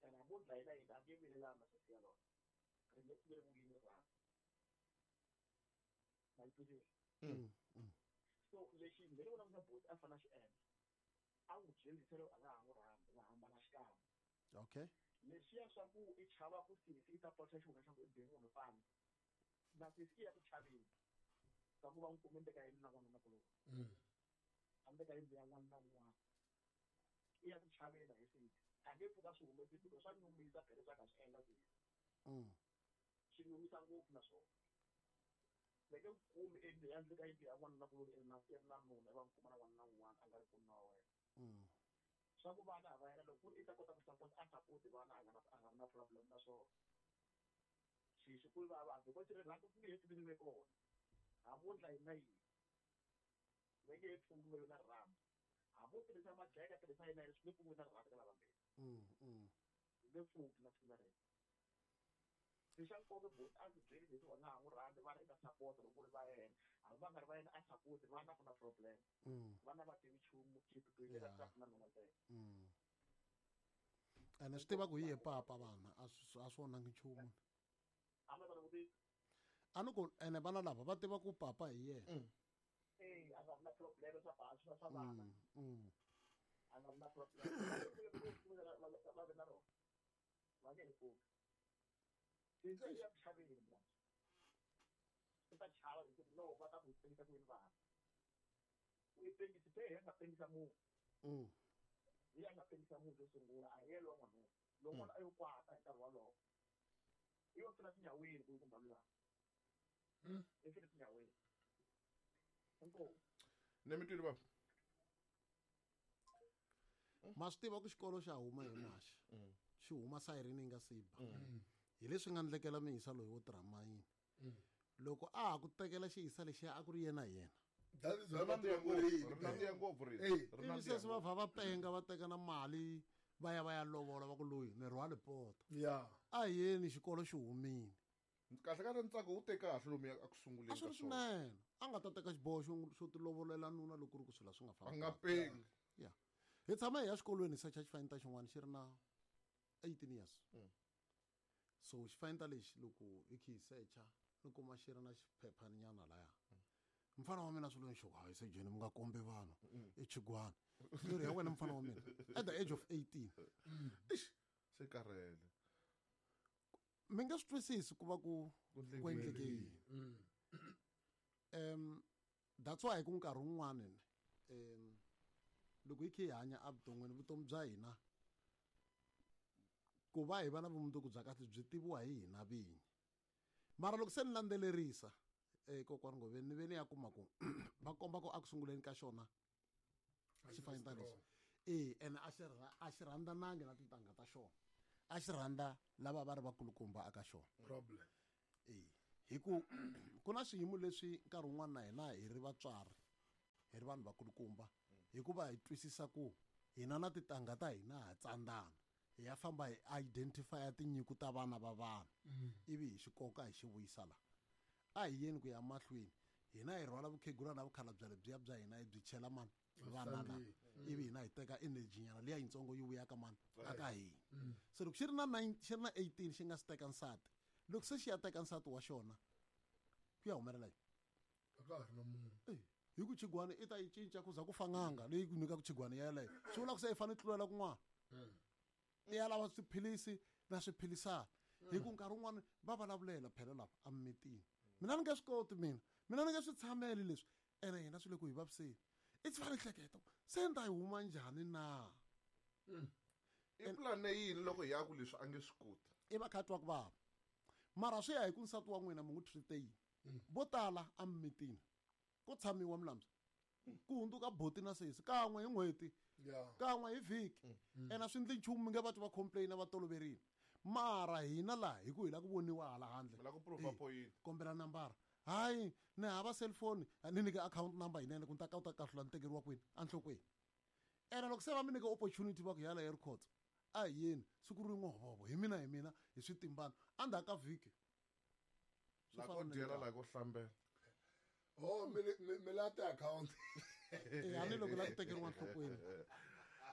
Ene hambi wo dlayela yini a nge vilelani na sesi yaloye. Ri nge pfuki ri vuyile rirhandzu. Ma yi twisisa? So lexi me ni vonaka buti a fanele a xi endla, a n'wi byelisa loko a nga ha n'wi rhandzi, va hambana xikan'we. Okay. Leswiya swa ku i chava ku sesi i ta paluxa xihundla xa ku i be munhu pala. Na sesi i ya ku chaveni ka ku va n'wi kume ndle ka yindlu na n'wanuna kuloni. A ndle ka yindlu ya n'wanuna un'wana. I ya ku chaveni hi sesi. A nge pfuka swi humesi because swa nyumisa phela leswi a nga swi endla sesi. Swi nyumisa ngopfu na swona. Va nge ku kumi endle ka yindlu ya n'wanuna kuloni i ri na i ri na nuna i va n'wi kuma na n'wanuna un'wana a nga ri ku nuna wa wena. Swa ku vana va yena loko ku ri i ta kota ku support a support vana a nga na a nga na problem na swona. Xi ku vava because rirhandzu ku nge he pfuki ri ve kona. Hambi wo ndla yini na yini. Va nge he pfuki va ve na rirhandzu. Hambi wo tirhisa majeka tirhisa yini na yini swi nge pfuki na rirhandzu ka lavambirhi. Swi nge pfuki na siku na rin'we. Xa nkoka buti a ndzi byeli leswi wa nga ha n'wi rhandzi vana i ta support loko ku ri va yena. Hambi va nga ri va yena a support vana ku na problem. Vana va tivi nchumu xiphiqo hi na nuna ntsena. Ene swi tiva ku hi ye papa vana a swi onhangi nchumu. A ni ku ene vana lava va tiva ku papa hi yena. Eh, a nga na problem swa swa vana. A nga na problem. Va ve na rona. Va nge he pfuki. Ya ku chaveni mina. I ta chava hi ku no va ta ku pengisa ku yini vana. U yi pengisi se hi nga pengisa munhu. Hi ya nga pengisa munhu xo sungula a hi yena lowa n'wanuna. Loko n'wana a yo kwata hi nkarhi wolowo. I yo fela tinyaweni ku kumba luya. I fele tinyaweni. Inkomu. Ne mi twile baba? Ma swi tiva ku xikolo xa huma hi maxi. Xi huma sayirini yi nga si ba. Hi leswi nga ndlekela miyisa loyi wo tirha mayini. Loko a ha ku tekela xiyisa lexiya a ku ri yena hi yena. That is why va tiva ku ri Ri nandziha ngopfu ri. Ivi sesi va vha va penga va teka na mali va ya va ya lovola va ku loyi ni rhwale poto. A hi yeni xikolo xi humile. Kahle kahle ntsako wu te kahle lomu a ku sunguleni A swi ri swinene. A nga ta teka xiboho xo tilovolela nuna loko ku ri ku swilo swi nga fambi. A nga pengi. Yeah. Hi tshama hi ya xikolweni hi secha xifanyetana xin'wana xi ri na 18 years. So xifanyetana lexi loko hi kha hi secha ni kuma xi ri na xiphephaninyana laya. Mfana wa mina swi lo nxoko hayi se jeni mi nga kombi vanhu i chigwana. Ni ri ya wena mfana wa mina at the age of 18. Eish, se karhele. Mi nga swi twisisi ku va ku ku endleke yini. That's why ku nkarhi wun'wani loko hi kha hi hanya evuton'wini vutomi bya hina ku va hi va na vumundzuku bya kahle byi tiviwa hi hina vinyi. Mara loko se ni landzelerisa Kokwani Ngoveni ni ve ni ya kuma ku va komba ku a ku sunguleni ka xona xifanyetana lexi e ene a xi a xi rhandzanangi na tintangha ta xona, a xi rhandza lava va ri vakulukumba aka xona. Problem. E hi ku ku na swiyimo leswi nkarhi wun'wana na hina hi ri vatswari, hi ri vanhu vakulukumba, hikuva hi twisisa ku hina na tintangha ta hina ha tsandzana, hi ya famba hi identify tinyiko ta vana va vanhu ivi hi xi koka hi xi vuyisa la. A hi yeni ku ya mahlweni, hina hi rhwala vukhegula na vukhalabya lebyiya bya hina hi byi chela mani vana la, ivi hina hi teka energy nyana liya yitsongo yi vuya ka mani aka hina. Se loko xi ri na 9 xi ri na 18 xi nga si teka nsati, loko se xi ya teka nsati wa xona ku ya humelela yini? A ka ha ri na munhu. Hi ku chigwani i ta yi cinca ku za ku fa n'anga leyi ku nyikaka chigwani yeleyo, swi vula ku se i fanele tlulela kun'wana, i ya lava swiphilisi na swiphilisana. Hi ku nkarhi wun'wani va vulavulela phela lava emimitini, mina ni nge swi koti, mina ni nge swi tshameli leswi, ene hina swi le ku hi vaviseni. I tshika ni hleketa se ni ta yi huma njhani na? I pulani yini loko hi ya ku leswi a nge swi koti? I va kha twa ku vava, mara swi ya hi ku nsati wa n'wina mi n'wi treat yini. Vo tala emimitini ko tshamiwa milambu ku hundzuka boti na sesi kan'we hi n'hweti, kan'we hi vhiki, ene a swi endli nchumu, mi nge va twi va complain, va toloverile. Mara hina laha hi ku hi lava ku voniwa hala handle, Mi lava ku prove point. Kombela nambara, hayi ni hava cellphone, ni nyike account number yinene ku ni ta kota kahlula ni tekeriwa kwini enhlokweni. Ene loko se va mi nyike opportunity va ku yala ya rikhotso, a hi yeni siku rin'we hovovo hi mina hi mina hi swi timbana endzhaku ka vhiki. Swi La fana ko na dyela, le la ko hlambela. Oh, mi la ti-account. E, a ni loko la ku tekeriwa enhlokweni.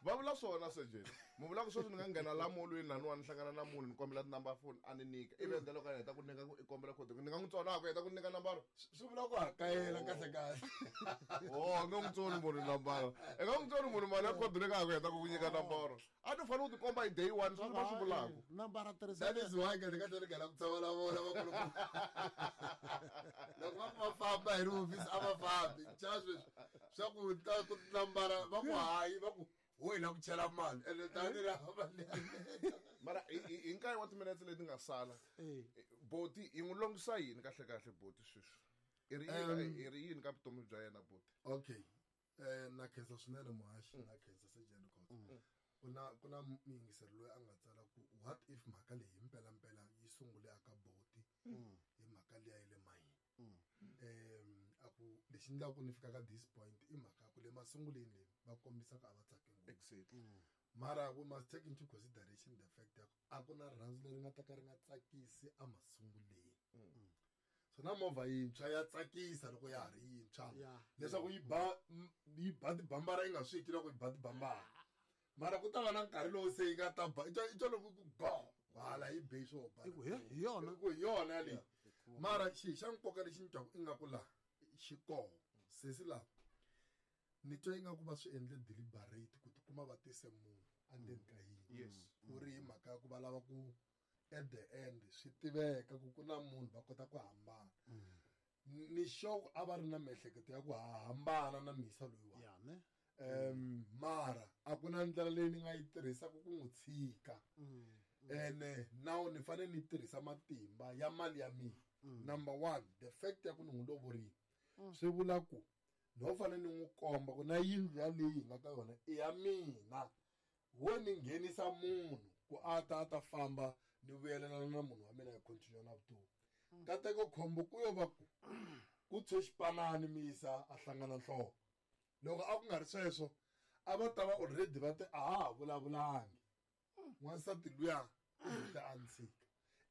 Va vula swona sejeni. Mi vula ku sweswi ni nga nghena la molweni laniwa ni hlangana na munhu ni kombela ti-number phone a ni nyika. Ivi endla loko a heta ku nyika ku i kombela code, ni nga n'wi tsona ku heta ku nyika nambara. Swi vula ku hakayela kahle kahle. Oh, a nge n'wi tsoni munhu nambara. I nga n'wi tsoni munhu mali ya code leyi ka ha ku heta ku nyika nambara. A ni fanele ku tikomba hi day one sweswi va swi vulaka. Nambara tirhisa. That is why kahle kahle ni nghena ku tshama na vona vakulukumba. Loko va ku va famba hi ri hofisi a va fambi. Cha sweswi swa ku ta ku nambara va ku hayi va ku ho hi la ku chela mali ene tani ra mali. Mara hi nkarhi wa timinetse leti nga sala, boti yi n'wi longisa yini kahle kahle boti sweswi? I ri yini, i ri yini ka vutomi bya yena boti? Okay. Na khensa swinene muhaxi, na khensa Sejeni Khotso. Ku na muyingiseri loyi a nga tsala ku what if mhaka leyi hi mpelampela yi sungule aka boti hi mhaka liya ya le mayini. A ku lexi endlaka ku ni fika ka this point i mhaka ya ku le masunguleni leyi va kombisaka a va tsake ngopfu. Mara we must take into consideration the fact ya ku a ku na rirhandzu leri nga ta ka ri nga tsakisi emasunguleni. So na movha yintshwa ya tsakisa loko ya ha ri yintshwa. Leswaku yi ba tibambara yi nga swi twi loko yi ba tibambara. Mara ku ta va na nkarhi lowu se yi nga ta ba, i twa loko ku go, hala yi be swo ba. I ku, he, hi yona. I ku hi yona leyi. Mara xi xa nkoka lexi ni twaku ingaku laha xi koho, sesi lava ni twa ingaku va swi endle deliberate ku tikuma va tise munhu endzeni ka yindlu. Ku ri hi mhaka ya ku va lava ku at the end swi tiveka ku ku na munhu va kota ku hambana. Ni sure ku a va ri na miehleketo ya ku ha hambana na misa loyiwani. Ya, ne? Mara a ku na ndlela leyi ni nga yi tirhisaka ku n'wi tshika. Ene now ni fanele ni tirhisa matimba ya mali ya mina. Number one, the fact ya ku ni n'wi lovorile. Swi vula ku no fanele ni n'wi komba ku na yindlu ya leyi hi nga ka yona i ya mina. Wo ni nghenisa munhu ku a ta a ta famba ni vuyelelana na munhu wa mina hi continue na vutomi. Nkateko khombo ku yo va ku ku tshwe xipanani misa a hlangana nhloko. Loko a ku nga ri sweswo a va ta va already va te a ha ha vulavulangi. N'wansati luya u heta a ni tshika.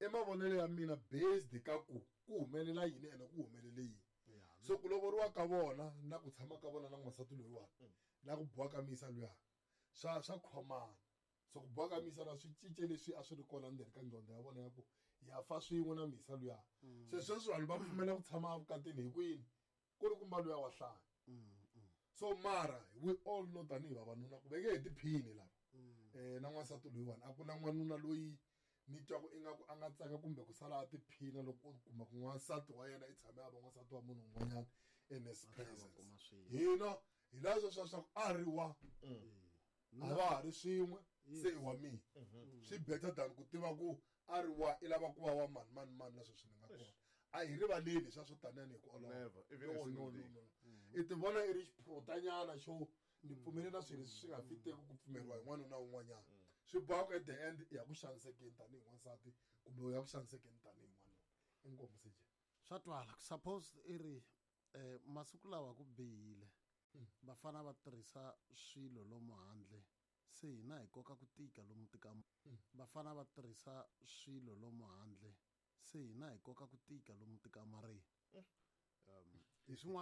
I mavonelo ya mina based ka ku ku humelela yini ene ku humelele yini. So ku lovoriwa ka vona na ku tshama ka vona na n'wansati loyiwani na ku boha ka misa luya swa khomana. So ku boha ka misa luya swi cince leswi a swi ri kona ndzeni ka nqondo ya vona ya ku ya fa swin'we na misa luya. Se sweswi vanhu va pfumela ku tshama evukatini hi ku yini? Ku ri kumba luya wa hlaya. So mara we all know tanihi vavanuna ku veke hi tiphini lava. Na n'wansati loyiwani a ku na n'wanuna loyi ni twaku ingaku a nga tsaka kumbe ku sala a tiphina loko u kuma ku n'wansati wa yena i tshame a va n'wansati wa munhu un'wanyana in his Va tlhela va presence. kuma swilo. Hina hi laha sweswo swa ku a ri wa. A va ha ri swin'we, se i wa mina. Swi better than ku tiva ku a ri wa i lava ku va wa mani mani mani na sweswi ni nga kona. A hi rivaleli swa swo taniyani hi ku olova. Never, even a No, single no, day. no, no. I ti vona i ri xiphurutanyana xo ni pfumele na swilo leswi swi nga fiteki ku pfumeriwa hi n'wanuna un'wanyana. Swi boha ku at the end i ya ku xanisekeni tanihi n'wansati kumbe u ya ku xanisekeni tanihi n'wanuna. Inkomu CJ. Swa twala suppose i ri masiku lawa ku bihile. Vafana va tirhisa swilo lomu handle se hina hi koka ku tika lomu tika. Vafana va tirhisa swilo lomu handle se hina hi koka ku tika lomu tikamareni. Hi swin'wana.